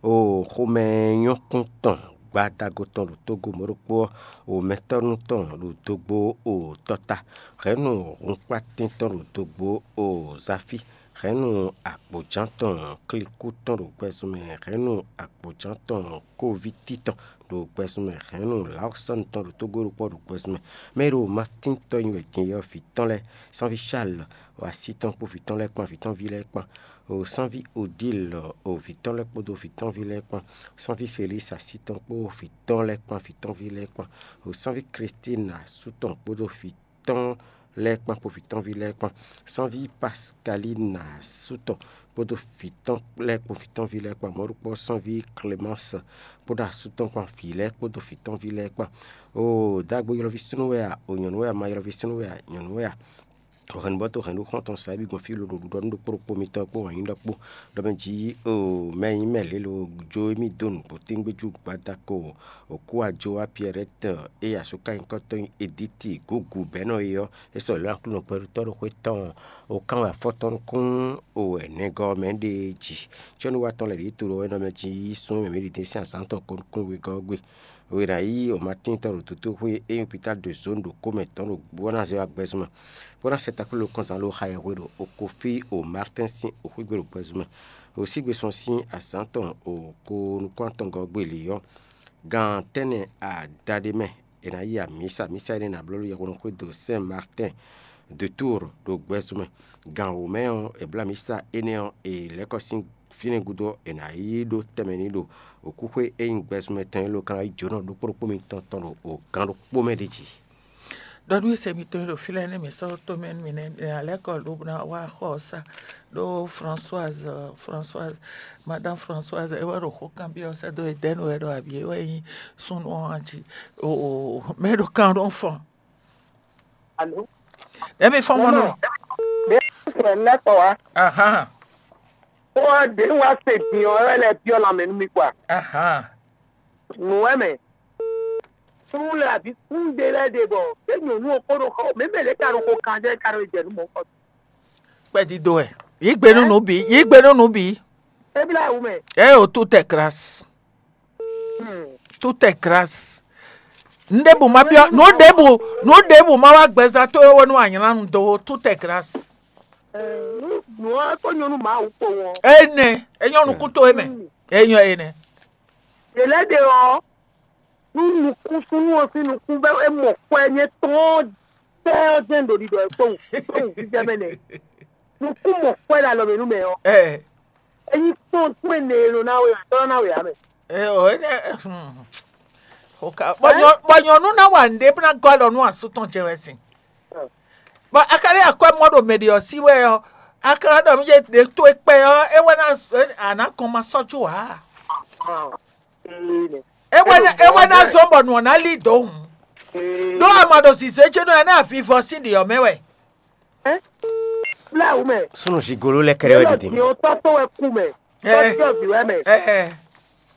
Oo, xomɛ nyɔ́kún tɔn gbadago tɔn ɖo tógó mɔ̌ ɖokpó ɔ́, o mɛtɔ́nu tɔn ɖo dogbo o tɔta, hɛ̌nnu hunkpatɛn tɔn ɖo dogbo o zafi, hɛ̌nnu agbǒján tɔn klíkú tɔn ɖo gbɛzún mɛ, hɛ̌nnu agbǒján tɔn kóvítí tɔn ɖo gbɛzún mɛ, hɛ̌nnu lawsɔ́nu tɔn ɖo tógó ɖokpó ɖo gbɛzún mɛ. Mɛ e ɖo Matín tɔn nyi wɛ din é ɔ́, vǐ tɔn lɛ́ɛ, sánví Salɛ, o así tɔn kpó vǐ tɔn lɛ́ɛ kpán, vǐ tɔn ví lɛ́ɛ kpán, o sánví Odílɔ, o vǐ tɔn lɛ́ɛ kpódó vǐ tɔn ví lɛ́ɛ kpán, sánví Felísi así tɔn kpó vǐ tɔn lɛ́ɛ kpán, vǐ tɔn ví lɛ́ɛ kpán, o sánví Klístína asú tɔn kpódó vǐ tɔn lɛ́ɛ kpán kpó vǐ tɔn ví lɛ́ɛ kpán, sánví Paskalína asú tɔn kpódó vǐ tɔn lɛ́ɛ kpó vǐ tɔn ví lɛ́ɛ kpán, mɔ̌ ɖokpó sánví Klemánsɛ kpódó asú tɔn kpán, vǐ lɛ́ɛ kpódó vǐ tɔn ví lɛ́ɛ kpán. Oo, dǎgbo ylɔ́ví súnnu wɛ a? O nyɔ̌nu wɛ a? Ma ylɔ́ví súnnu wɛ a? Nyɔ̌nu wɛ a? Hɛ̌nnubɔ́ to hɛ̌nnu xɔ́ntɔn sa é bǐ gbɔn fí loɖo ɖiɖɔ nú ɖokpó ɖokpó mitɔn kpó wǎn yí ɖɔ kpó, ɖɔ mɛ jí o mɛ e nyí mɛ lě lo jó émí dó nǔgbó téngbéjú gbadako. Òkú ajo wá Piɛrɛ́tɛ e asúkanyíkɔ́tɔn nyí Edíti gǔgú bɛ̌ nɔ é ɔ́, é sɔ́ lɔ̌ Aklúnɔ gbɛɖutɔ́ ɖo xwé tɔn, o kán wɛ afɔ tɔn nukún o wɛ nɛgɔ́ ɔ́ mɛ ɖe jí. Cɔ́núwa tɔn lɛ̌ ɖíe to ɖo wɛ nɔ mɛ jí yí sún mɛ mǐ ɖi dín sín azǎn tɔn ko nukún wegɔ́ ɔ́ gbe. È nǎ yí o Matín tɔn ɖo dotó xwé e nyí hopitál de zǒn ɖo kó mɛ tɔn ɖo bó ná zé wá gbɛzún mɛ, bó ná sɛ takplélo kɔnzán ló xa yɛhwe ɖo Okofí o Martɛ́n sín oxwígbe ɖo gbɛzún mɛ. O sígbe sɔn sín azǎn tɔn o ko nukún atɔngɔ́ gbe lě ɔ́, gan tɛ́nnɛ adaɖé mɛ è nǎ yi amǐsa. Mísa énɛ́ ná bló ɖo yɛhweɖɔxwé do Sɛn Martɛ́n de Túur ɖo gbɛzún mɛ. Gan wǒ mɛ ɔ́, è bló amǐsa énɛ́ ɔ́, è lɛ́ kɔ sín fínɛ́ gúdo ɔ́, è nǎ yi ɖó tɛnmɛ n'i ɖo wǔkúxwé e nyí gbɛzunmɛ tɔn élɔ́ kan ná yi jǒnɔ ɖokpó ɖokpó mitɔn tɔn ɖo gǎn ɖokpó mɛ ɖ'é jí. Ɖɔ nú ese mitɔn e ɖo fí lɛ́ɛ nɛ́ mǐ sɔ́ tomɛ nú mì nɛ́, mǐ ná lɛ́ kɔ lobo ná wá xɔ ɔ́ sa. Ɖó Françoise, Françoise, Madame Françoise é wɛ ɖo xó kanbyɔ́ sɛ́ dó Edɛ́nu wɛ ɖɔ abǐ é wɛ nyí súnnu ɔ́ jí. Oo, mɛ ɖo kan ɖó fɔn. Alo? Ɖɛ̌ mi fɔ́n mɔ nú mì? Ɖě sɛn lɛ́ kɔ wá. Ahán. Ó wá ɖě wá se din ɔ́, é wɛ lɛ́ byɔ́ lanmɛ nú mì kpa. Ahán. Nǔ wɛ mɛ. Súnnu lɛ abǐ kún ɖe lɛ́ɛ ɖe bɔ é nyɔ̌nu ɔ́ kpo ɖo xɔ mɛ mɛ lě ka ɖo xo kan jɛ ka ɖo jɛ nú mɔ̌ kɔ. Kpɛdídó wɛ. Yí gbe nú nǔ bǐ. Yí gbe nú nǔ bǐ. É blá wǔ mɛ. Ɛ o tout est grâce. Hmm. Tout est grâce. Nǔɖébù má byɔ́ nǔɖébù nǔɖébù má wá gbɛzán tó é wɛ nú anyǎnu dó tout est grâce. Nǔ ɔ́ kó nyɔ́nú Mawu kpowun ɔ́. Énɛ́, é nyɔ́ nukún tó é mɛ. É nyɔ́ énɛ́. Yě lɛ́ ɖe ɔ́, nú nukún súnnu ɔ́ sín nukún bɛ́ é mɔ kwɛ nyɛ tɔn tɛ́ ɔ́ jɛ́n ɖo ɖiɖɔ ɛ kpowun kpowun fífɛ́ mɛ nɛ́. Nukún mɔ kwɛ ɖo alɔ mɛ nú mɛ ɔ́. Ɛ Ényí kpɔ́n kpɔ́n e nɔ ná we ǎ, tɔ́ ná we ǎ mɛ. Ɛ ɔ, énɛ́ hmm. Oka bɔ nyɔ bɔ nyɔnu ná wa nɖe bó ná gɔ́ alɔ nú asú tɔn jɛ wɛ sin. Bɔ a ka ɖe akwɛ́ mɔ ɖo mɛ ɖe ɔ́ sí wɛ ɔ́, a ka ná ɖɔ mí yé ɖe tó e kpɛ ɔ́, é wɛ ná a nǎ gɔn ma sɔ́ jó ǎ. Ee nɛ. É wɛ ná é wɛ ná zɔ́n bɔ nǔ ɔ́ ná lí dǒ hǔn. Ɖó a ma ɖo zǐzé ce nɔ ɛ nɛ́ avivɔ sín ɖě ɔ́ mɛ wɛ. Bláwǔ mɛ. Súnnu zigolo lɛ́ kɛ́ɖɛ́ wɛ ɖo din. Yǒ tɔ́ tó wɛ kú mɛ. Tɔ́ tí ɔ́ vǐ wɛ mɛ.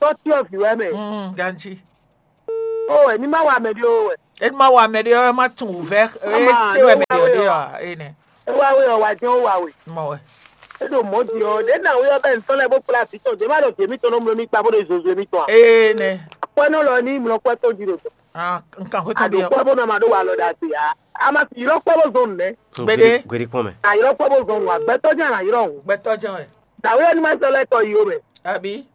Tɔ́ tí ɔ́ vǐ wɛ mɛ. Ganjí. Ó wɛ ní má wa mɛ ɖé ó wɛ. É ní má wa mɛ ɖé ɔ́, é má tunwun wǔvɛ́ é se wɛ mɛ ɖé ɔ́ ɖé ɔ́ ée nɛ́. É wá wé ɔ́, wa jɛ́n ó wa we. Mɔ wɛ. É ɖo mɔ̌ din ɔ́, ɖě ná wé ɔ́ bɛ́ nǔtɔ́ lɛ́ɛ bó kplá vǐ tɔn, jě má ɖɔ vǐ émítɔn nɔ mló mì kpa bó ɖo zozo émítɔn ǎ. Ee nɛ́. Akwɛ́nɔ lɔ ní mlɔ kwɛ́ tɔn jí ɖo tɔn. Nkan xwé tɔn Àdó bí ɔ́. Kwɛ́ bó nɔ ma ɖó wa lɔ ɖagbe ǎ. A ma sì ylɔ́ kwɛ́ bó zɔn nǔ nɛ́. Gbédé. Gbédé kpɔ́n mɛ. À ylɔ́ kwɛ́ bó zɔn nǔ ǎ, gbɛtɔ́ jɛ́n à nǎ ylɔ́ hǔn. Gbɛtɔ́ jɛ́n wɛ. Dǎwe ɔ́ ní má sɔ́ lɛ́ tɔ yi ó mɛ. Àbí.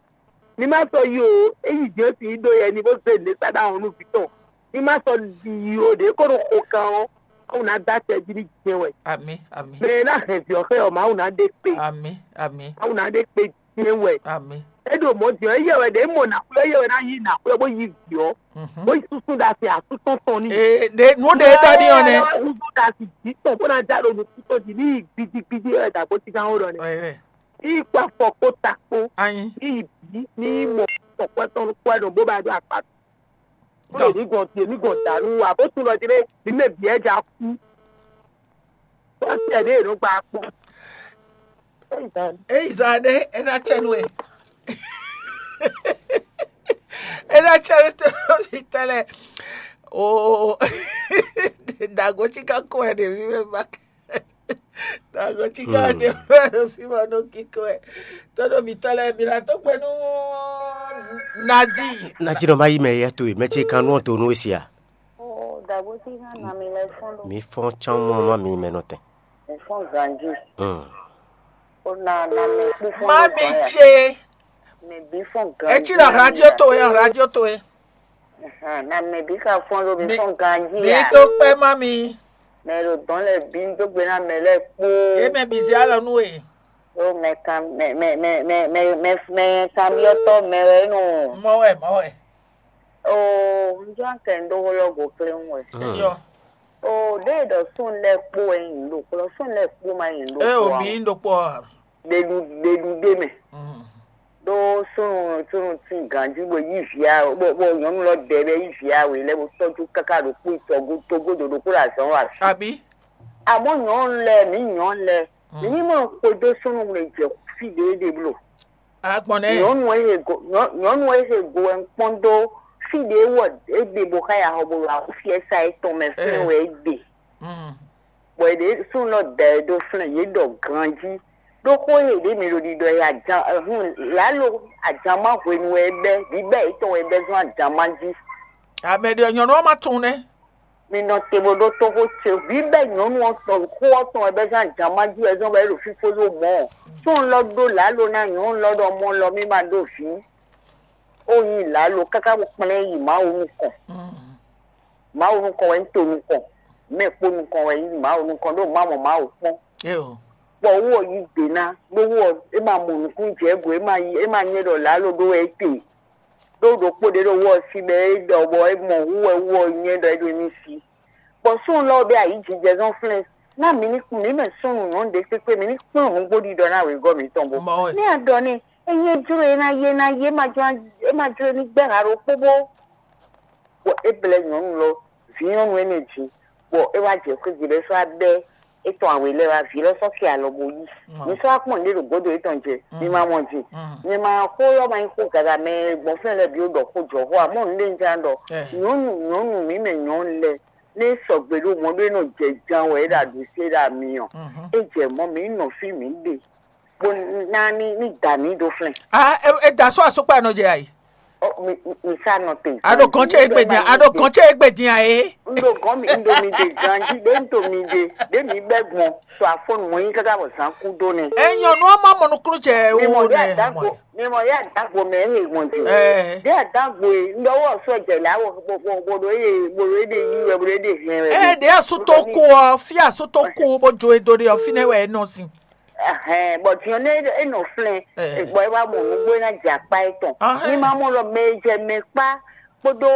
Ní má sɔ́ yi o, é yi jɛ́n sin yi ɖó yɛ ní bó zé nǔɖé sá ɖó ahɔn nú vǐ tɔn. Ní má sɔ́ yi o, ɖě kó ɖo xo kan ɔ́, Mawu ná dó acɛ jí ní jɛ́n wɛ. Amǐ, amǐ. Mɛ e ná hɛn vǐ ɔ́ xɛ ɔ́, Mawu ná ɖe kpe. Amǐ, amǐ. Mawu ná ɖe kpe jɛ́n wɛ. Amǐ. É ɖo mɔ̌ din ɔ́, éyɛ́ wɛ ɖě mɔ nǎxwlɛ́, éyɛ́ wɛ ná yí nǎxwlɛ́ bó yí vǐ ɔ́, bó yi súsú ɖo asi asú tɔn tɔn ní. Ee, ɖe nǔ ɖe e ɖɔ ní ɔ́ nɛ́. Súsú ɖo asi jǐ tɔn bó ná já ɖo nukún tɔn jí ní yi gbidigbidi wɛ dǎgbó cíkan ó ɖɔ nɛ́. Ní yi kpó afɔ kpó ta kpó. Anyi. Ní yi bǐ ní yi mɔ tɔkwɛ tɔn kpó ɛ nɔ bó ba ɖó akpa. Bó ɖo ní gɔn tie ní gɔn dǎ nú wa bó tún lɔ jí ɖé ní mɛ bǐ ɛ ja kú. Bó tɛ ɖé è nɔ gba kpɔ́n. Eyi zan ɖé é ná cɛ nú ɛ. É ná cɛ nú tɔ́ví tɔn lɛ. Oo. Dǎgó cí ká kó ɛ ɖě mí mɛ ba. Dǎgó cí ká ɖě mí mɛ ɖo fí ma nɔ kíkó ɛ. Tɔ́ɖo mǐtɔn lɛ mǐ ná dó gbe nú Nadi. Nadi nɔ ma yi mɛ yɛ to e mɛ ce kan nú ɔ́ do nú e sia. Dǎgó cí ká na mi lɛ fɔ́n ɖo. Mi fɔ́n cán mɔ má mi mɛ nɔ tɛn. Mi fɔ́n ganjí. Hmm. Ó na na mɛ kpú fún Má mi mi jɛ. Mɛ bí fún gan. Etí la radio to e, radio to e. Na mɛ bí ka fún ló bí fún gan jí. Bí tó pẹ́ má mi. Mɛ ɖo dɔn lɛ bí ń dó gbe ná mɛ lɛ kpó. E mɛ bí zé alɔ nú e. Ó mɛ kan mɛ mɛ mɛ mɛ mɛ mɛ mɛ kanbyɔ́tɔ́ mɛ wɛ nɔ. Mɔ wɛ, mɔ wɛ. Oo, un jɔ kɛ un ɖó xó lɔ go kléwún wɛ. Yɔ. Oo, ɖěe ɖɔ sún lɛ́ɛ kpó wɛ nyi ɖo kplɔ́, sún lɛ́ɛ kpó ma nyi ɖo kplɔ́. Ɛ o mi ɖo kpɔ. Ɖeɖu ɖeɖu ɖe mɛ. Ɖó súnnu súnnu tín ganjí bó yí vǐ a bó bó nyɔ̌nu lɔ dɛ bɛ yí vǐ a wě lɛ́ɛ bó tɔ́jú káká ɖo kpó tɔgó tógó ɖo ɖokpó ɖo azɔ̌ wa. Àbí? Àmọ́ nyɔ̌nu lɛ́ɛ mǐ nyɔ̌nu lɛ́ɛ mǐ ní mɔ xwedó súnnu wlé jɛ fí ɖě ɖe bló. Agbɔn nɛ. Nyɔ̌nu e he go nyɔ- nyɔ̌nu e he go wɛ un kpɔ́n dó fí ɖě wɔ é ɖe bó xá ya xɔ bó wá fiɛ́sá étɔn mɛ flɛ́n wɛ é ɖe. Bɔ è ɖě súnnu lɔ da ɛ ɖó flɛ́n yě ɖɔ ganjí. Ɖó xó e ɖě mi ɖo ɖiɖɔ e ajan hun lǎlo ajanmá hwenu wɛ é bɛ́ bǐbɛ́ yětɔn wɛ é bɛ́ zɔ́n ajanmá jí. Amɛ ɖe nyɔ̌nu ɔ́ ma tunwun nɛ́. Mi nɔ te bó ɖó tóxó ce bǐbɛ́ nyɔ̌nu ɔ́ tɔn xó ɔ́ tɔn wɛ bɛ́ zɔ́n ajanmá jí wɛ zɔ́n bɔ é ɖo fífó ɖó mɔ̌. Súnnu lɔ ɖó lǎlo ná nyɔ̌nu lɔ ɖɔ mɔ lɔ mí ma ɖó vǐ. Ó nyí lǎlo káká bó kplɛ́n yi Mawu nukɔn. Mawu nukɔn wɛ nyí to nukɔn, mɛ kpó nukɔn wɛ nyí Mawu nukɔn ɖó má mɔ Mawu kpɔ́n. Bɔ wú ɔ yí gbe ná, ɖó wú ɔ é ma mɔ nukún jɛ go, é ma yí é ma nyɛ ɖɔ lǎlo ɖó wɛ é te. Ɖó ɖokpó ɖé ɖo wú ɔ sí bɔ é ɖɔ bɔ é mɔ wú wɛ wú ɔ nyɛ ɖɔ é ɖo émí sí. Bɔ súnnu lɔ ɔ́ bɛ́ ayǐjijɛ zɔ́n flɛ́n ná mǐ ní mǐ mɛ súnnu nyɔ̌nu ɖé kpékpé mǐ ní kplɔ́n nǔgbó ɖiɖɔ ná wěgɔ́ mǐtɔn bó. Ní a ɖɔ n'i, ényí é jló e ná yé ná yé ma jló é ma jló ní gbɛ́ ha ɖokpó bó. Bɔ é blɛ́ nyɔ̌nu lɔ vǐ nyɔ̌nu énɛ́ jí, bɔ é wá jɛ xwé gbe bɔ é sɔ́ wá bɛ́ étɔn awě lɛ́ɛ wá vǐ lɔ sɔ́ kɛ alɔ bó yí. Mi sɔ́ wá kpɔ́n nǔɖé ɖo gǒdo yětɔn jɛ, mi ma mɔ ji. Mi ma xó lɔ ma nyí xó gaga mɛ e gbɔn fínɛ́ lɛ́ɛ bǐ ó ɖɔ xó jɔ xó ǎ, mɔ̌ nǔɖé un jlá ɖɔ. Nyɔ̌nu nyɔ̌nu mǐ mɛ nyɔ̌nu lɛ́ɛ, nú é sɔgbe ɖó mɔ̌ ɖó é nɔ jɛ jan wɛ é ɖo aɖǔ sé ɖo ami ɔ́, é jɛ mɔ̌ mǐ nɔ fí mǐ ɖe, bó ná ní ní da mǐ ɖó flɛ́n. Ah, e, e da sɔ́ asokpa nɔ jɛ ayi. Ɔ, mi mi mi sa nɔ te. A ɖo gɔn ce egbe dia, a ɖo gɔn ce egbe dia e. N ɖo gɔn mi n ɖo mi de ganji ɖe n to mi de ɖe mi bɛ gbɔn to afɔnu mɔ nyi kaka bɔ zan ku do nɛ. E nyɔnu ɔ́ ma mɔ nukúnnú jɛ mi mɔ wo ɖe nɛ adagbo mɔ. Mi mɔ ɖe adagbo mɛ e gbɔn jɛ. Ɛ. Ɖe adagbo e n ɖɔ wɔ sɔ jɛ la wɔ bo bo bo ɖo eye bo ɖo ede yi wɛ bo ɖo ede hɛn wɛ. Ɛ ɖe asutɔ ku ɔ fi asutɔ ku bo jo edo ɖe ɔ fi nɛ wɛ e nɔ sin. Ɛhɛn, bɔ din ɔ́, nú é nɔ flɛ́n, bɔ é wá mɔ nǔgbó é ná jɛ akpá étɔn. Ní má mɔ ɖɔ mɛ e jɛ mɛ kpá kpódó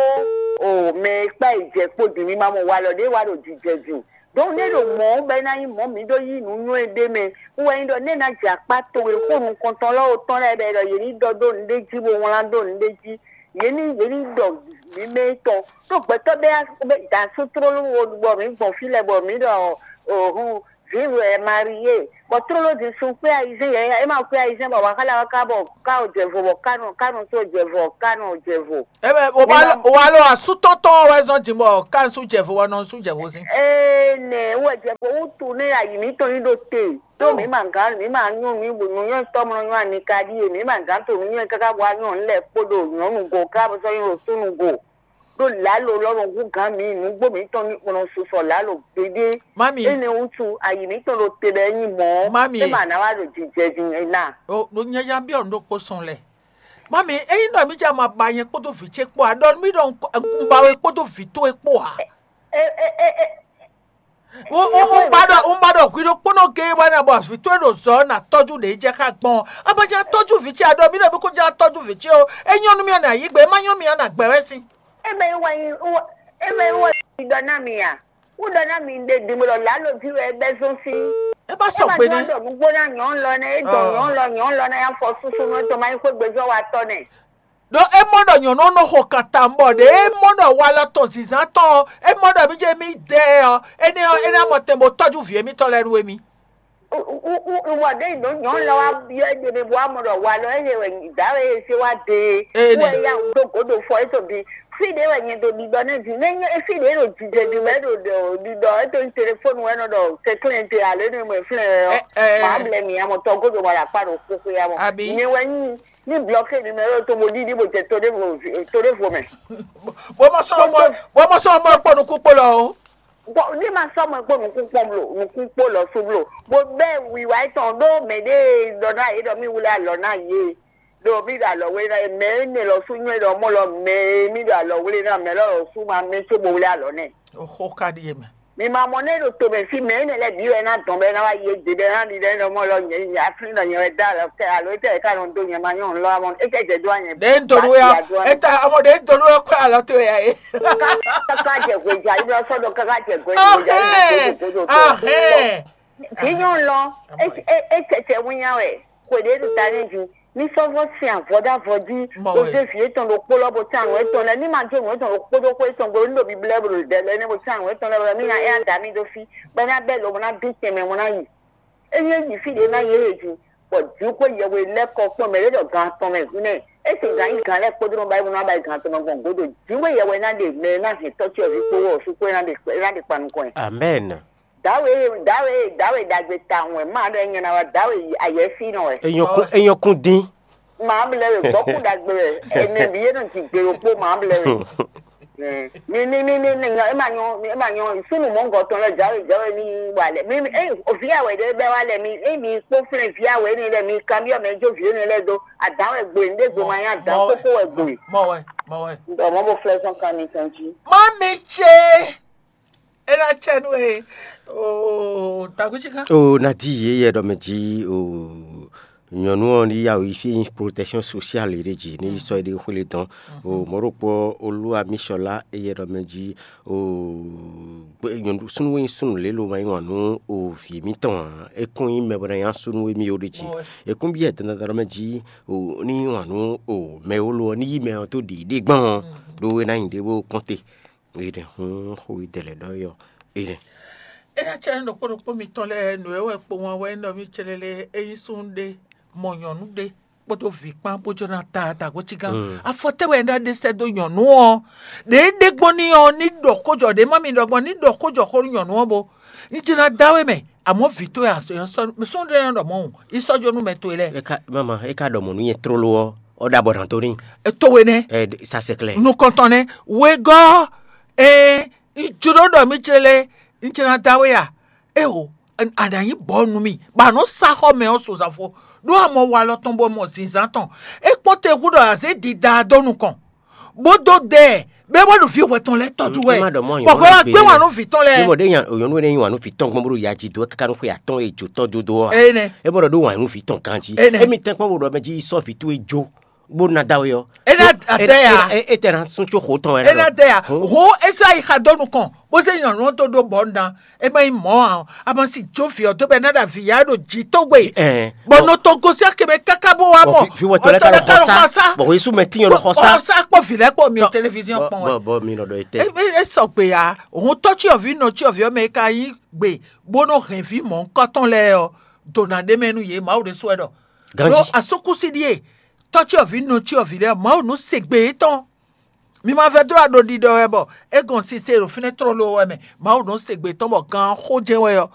o mɛ e kpá yi jɛ kpó din ní má mɔ walɔ ɖé wá ɖo jijɛ din. Donc nú é ɖo mɔ̌ bɔ é ná nyí mɔ̌ mǐ ɖó yí nǔ nywɛ́ ɖé mɛ, wú wɛ nyí ɖɔ nú é ná jɛ akpá towe xó nukɔntɔn lɔ́ wo tɔn lɛ́ɛ bɔ é ɖɔ yě ní ɖɔ dó nǔɖé jí bó wlán dó nǔɖé jí. Yě ní yě ní ɖɔ mǐ mɛ tɔn ɖó gbɛtɔ́ bɛ́ bɛ́ da sú tlóló wo bɔ mǐ gbɔn fí lɛ́ɛ bɔ mǐ ɖɔ òhun vǐ wɛ Marie, bɔ tlóló din sun xwé ayizɛ́n yɛ é ma xwé ayizɛ́n bɔ wǎ xá lɛ wá ká bɔ ká ò jɛ vo bɔ ká nɔ ká nɔ tó jɛ vo ká nɔ jɛ vo. Ebe o wa lo asútɔtɔ wɛ zɔn jin bɔ kan su jɛ vo wɛ nɔ su jɛ vo sin. Ee nɛ wɛ jɛ vo wutu nɛ ayi mǐtɔn yi ɖo te. Tó mǐ ma gán mǐ ma nyɔ́ mǐ bu nǔnywɛ́ tɔmlɔ nyɔ́ ani ka ɖíe mǐ ma gán to nǔnywɛ́ káká bɔ anyɔ́ ɔ́ lɛ́ kpódó nyɔ̌nu go ká bɔ sɔ́ nyɔ́ ɖo súnnu go ɖó lǎlo lɔ́nɔ hú gǎn mǐ nǔgbó mǐtɔn ní kplɔ́n susɔ lǎlo gbeɖé. Mami. Énɛ́ wútu ayi mǐtɔn ɖo te ɖɔ é nyí mɔ̌. Mami. É ma ná wá ɖo jijɛ din ná. O ɖo nyanya byɔ́ nǔ ɖokpó sɔn lɛ. Mami, ényí ɖɔ mí jɛ ma ba nyɛ kpódó vǐ ce kpó ǎ, ɖɔ mí ɖɔ un ba we kpódó vǐ towe kpó ǎ. E e e e. Un un un ba ɖɔ un ba ɖɔ hwi ɖokpónɔ géé wɛ ná bɔ vǐ towe ɖo zɔ ná tɔ́jú ɖě jɛ xá gbɔn. A ma jɛ tɔ́jú vǐ ce a ɖɔ mí ɖɔ mí kó jɛ tɔ́jú vǐ ce o. É nyɔ́ nú mì ɔ́, yǐ gbe, é má nyɔ́ mì ɔ́, nǎ gbɛ wɛ sín. Eme wɔ eme wɔ ɖɔ ná mi a? Wúɖɔ ná mi ɖe dǐn bó ɖɔ lǎlo ví wɛ é bɛ́ zɔ́n sín. É bá sɔ gbe nɛ́. Ɖɔ nǔgbó ná nyɔ̌nu lɔ nɛ́, é dɔn nyɔ̌nu lɔ nyɔ̌nu lɔ ná nyá fɔ súsú nú é tɔn má nyí xwé gbezɔ́ wa tɔ́ nɛ́. Ɖó é mɔ ɖɔ nyɔ̌nu nɔ xo kanta bɔ ɖě é mɔ ɖɔ walɔ tɔn zǐnzán tɔn ɔ́, é mɔ ɖɔ mí jɛ mí dɛ ɔ́, énɛ́ ɔ́, é ná mɔ tɛn bó tɔ́jú vǐ émítɔn lɛ́ɛ nú émí. Wɔ ɖé ɖo nyɔ̌nu lɔ wá byɔ́ é ɖe mɛ bó wá mɔ ɖɔ walɔ é yɛ wɛ dǎwe e sé wá de é wɛ ya dó gǒdo fɔ é to bi. Fí ɖé wɛ nyɛ ɖo ɖiɖɔ nɛ́ din, nɛ́ nyɛ fí ɖé ɖo jijɛ din wɛ ɖo ɖiɖɔ é to nyí telefónu wɛ nɔ ɖɔ kɛnklɛ́n te alo é nɔ mɔ flɛ́n ɔ́. Má blɛ mì amɔ tɔgódo wala kpá ɖo xóxó ya mɔ. Nyɛ wɛ nyí ní blɔké numéro to mo ɖiɖi bó jɛ to ɖévo to ɖévo mɛ. Bó mɔ sɔn mɔ bó mɔ sɔn mɔ kpɔ nukún kpó lɔ o. Bɔ ní ma sɔ́ mɔ kpó nukún kpɔ́n blo nukún kpó lɔ sú blo bó bɛ́ wiwa étɔn ɖó mɛ ɖé ɖɔ ná yě ɖɔ mí wlé alɔ ná yě ɖo mí ɖo alɔ wé ná mɛ énɛ́ lɔ sú nyɔ́ ɖɔ mɔ lɔ mɛ mí ɖo alɔ wlé ná mɛ lɔ lɔ sú ma mɛ có bó wlé alɔ nɛ. Oxó ka ɖíe mɛ. Mi ma mɔ nɛ ɖo to mɛ fí mɛ énɛ́ lɛ bǐ wɛ ná dɔn bɛ ná wá yé dě bɛ ná ɖi lɛ nɔ mɔ lɔ nyɛ nyɛ aflín nɔ nyɛ wɛ dá alɔ kɛ alo étɛ ká nɔ dó nyɛ ma nyɔ lɔ amɔ étɛ jɛ dó anyɛ. Ɖe ń dolú ya étɛ amɔ ɖe ń dolú ya kó alɔ tó ya é. Káká jẹ hwejá yìí lọ sọ́dọ̀ káká jẹ hwejá yìí lọ sọ́dọ̀ tó tó tó. Kì í yàn lọ é tẹ̀tẹ̀ wíyá wẹ̀ kò dé tó ta ní ju ní sọ́fọ́ sin àvọ́dàvọ́ dí ojú èfì ètò ló kpó lọ́bù tí àrùn ètò lẹ ní màá jó òun ètò ló kpó dó kó ètò gbòòrò nílò bíbélì ẹ̀bùrù dẹ̀ lẹ ní mo tí àrùn ètò lẹ wẹ̀ mí ná ẹ̀ àdá mi dó fí pẹ́ ní abẹ́ lòun ná bí tẹ̀mẹ̀ wọn ná yìí. Eye yi fí ɖě ná yě he ju, bɔ jǐxwé yɛhwe lɛ́ kɔ kpɔ́n mɛ ɖé ɖɔ gan atɔn mɛ húnɛ́. É se gan yí gan lɛ́ kpódó nɔ ba yi nɔ ba yi gan atɔn mɛ gbɔn gǒdo. Jǐxwé yɛhwe ná ɖe mɛ ná hɛn tɔ́ ce ɔ́ ví kpó wɔ sú kpó ná ɖe ná ɖe kpa nukɔn ɛ. Amɛn. Dawe dawe dawe ɖagbe tawun wɛ má ɖɔ nyɛ ná wá dawe ayɛfí nɔ wɛ. Enyɔkun enyɔkun dín. Màá mi lɛ wɛ gbɔ́kú ɖagbe wɛ ɛnɛ bǐ yé nɔ jǐ gbe ɖokpó màá mi lɛ wɛ. Mi mi mi mi mi nyɔ ema nyɔ ema nyɔ sunu mɔngɔ tɔn lɛ jawe jawe mi wa lɛ mi mi eyi ovi awɛ ɖe bɛ wa lɛ mi eyi mi kpó flɛ vi awɛ ni lɛ mi kan bi ɔmɛ jo vi ni lɛ do adan wɛ gboe nde gbo ma nya dan koko wɛ gboe. Mɔ wɛ mɔ wɛ. Ɔmɔ bo flɛ sɔn kan mi kan ji. Má mi tse é ná tse nú e o takutsika. O nadi yeyɛ ɖɔ mɛ ji o. Nyɔnu ɔ́ ní yá wǔ yi fí e nyí protection sociale ɖé jí ní yi sɔ́ éɖée xwlé dɔn. O mɔ̌ ɖokpó ɔ́, Olúwa mǐ sɔ́ lá éyɛ́ ɖɔ mɛ jí o súnnu e nyí súnnu lě lo ma yí wǎn nú o vǐ mǐtɔn ǎ. É kún nyí mɛ bɔ ná nyá súnnu e mì ó ɖe jí. É kún byɔ́ dandan ɖɔ mɛ jí o ní yí wǎn nú o mɛ e wó lo ɔ́ ní yí mɛ ɔ́ dó ɖiɖe gbɔn ɔ́, ɖó é ná nyi ɖě bó kpɔ́n te. Énɛ́ hǔn xó e dɛ lɛ́ ɖɔ é ɔ́, énɛ́. É ná cɛ́ ɖokpó ɖokpó mitɔn lɛ́ɛ nǔ e wɛ kpowun ɔ́ wɛ nɔ mì célélé é nyí súnnu ɖé mɔ nyɔ̌nu ɖé kpódó vǐ kpán bó jló ná ta dǎgócígán. Afɔ tɛ́ wɛ é ná ɖe sɛ́ dó nyɔ̌nu ɔ́? Ɖě é ɖe gbɔn n'i ɔ́, ní ɖɔ xó jɔ ɖě má mi ɖɔ gbɔn, ní ɖɔ xó jɔ xó nú nyɔ̌nu ɔ́ bó. Ní jló ná dá we mɛ, amɔ̌ vǐ towe a sɔ́ súnnu ɖé nɔ ɖɔ mɔ̌ hǔn, yi sɔ́ jó nú mɛ towe lɛ́ɛ. É ka mama é ka ɖɔ mɔ̌ nú nyɛ tlóló ɔ́, ɔ́ ɖo abɔ nǎ dó n'i. Towe nɛ́. Ɛ sa sɛklɛ. Nukɔntɔn nɛ́, wegɔ́ ɛ jló ɖɔ mì célé, un ce ná dá we a? Éeǒ, a nǎ nyí bɔ̌ nú mì, bɔ a nɔ́ sá xɔ mɛ ɔ́ sozafo, ɖó a mɔ walɔ tɔn bɔ mɔ zǐnzán tɔn. É kpɔ́n te hú ɖɔ a zě dida dó nukɔn, bó dó dɛ ɛ, bɔ é wá ɖo vǐ hwɛ tɔn lɛ́ɛ tɔ́jú wɛ. Bɔ hwɛ wá gbé wǎn nú vǐ tɔn lɛ́ɛ. Mɔ ɖé nyɔ̌nu énɛ́ nyí wǎn nú vǐ tɔn gbɔn bó ɖo ya jí dó káká nú xwe atɔ́ɔ́n e jǒ tɔ́ jó dó ɔ́. Énɛ́. É bɔ ɖɔ ɖó wǎn nú vǐ tɔn ganjí. Énɛ́. Émi tɛ́nkpɔ́n wo ɖɔ mɛ jí sɔ́ vǐ towe jó. Bó ná dá we ɔ́. É ná adá ya. É tɛ ná sún tso xó tɔn wɛ. É ná adá ya. Hó Ezau yi xa dó nukɔn bó zé nyɔ̌nu ɔ́ dó ɖó bɔ ná. É má nyí mɔ̌ ǎ. A ma si jó vǐ ɔ́ dó bɔ é ná ɖo avǐ ya ɖo jǐ tógbe. Bɔ nɔ tɔn gosín akɛmɛ káká bó wá mɔ. Fi wɔ tɔlɛ ká lɔ xɔsa. Bɔ Yesu mɛ tínyɔ lɔ xɔsa. Xɔsa kpɔ vǐ lɛ́ kpɔ mi télévision kpɔn wɛ. Bɔ mi nɔ ɖɔ ete. É sɔgbe ya. Hɔn tɔ́ cyɔvǐ nɔ cyɔvǐ ɔ́ mɛ é ka yí gbe bó nɔ hɛn vǐ mɔ̌hunkɔtɔn lɛ́ɛ ɔ́, dǒ ná ɖ'é mɛ nú yě. Mawu ɖésú wɛ ɖɔ. Ɖó asúkúsi ɖíe tɔ́ cyɔvǐ nɔ cyɔvǐ lɛ́ɛ, Mawu nɔ se gbe yětɔn. Mi ma vɛdó aɖo ɖiɖɔ wɛ bɔ é gɔn sise ɖo fínɛ́ tlóló wɛ mɛ. Mawu nɔ se gbe tɔn bɔ gan xó jɛ́n wɛ ɔ́,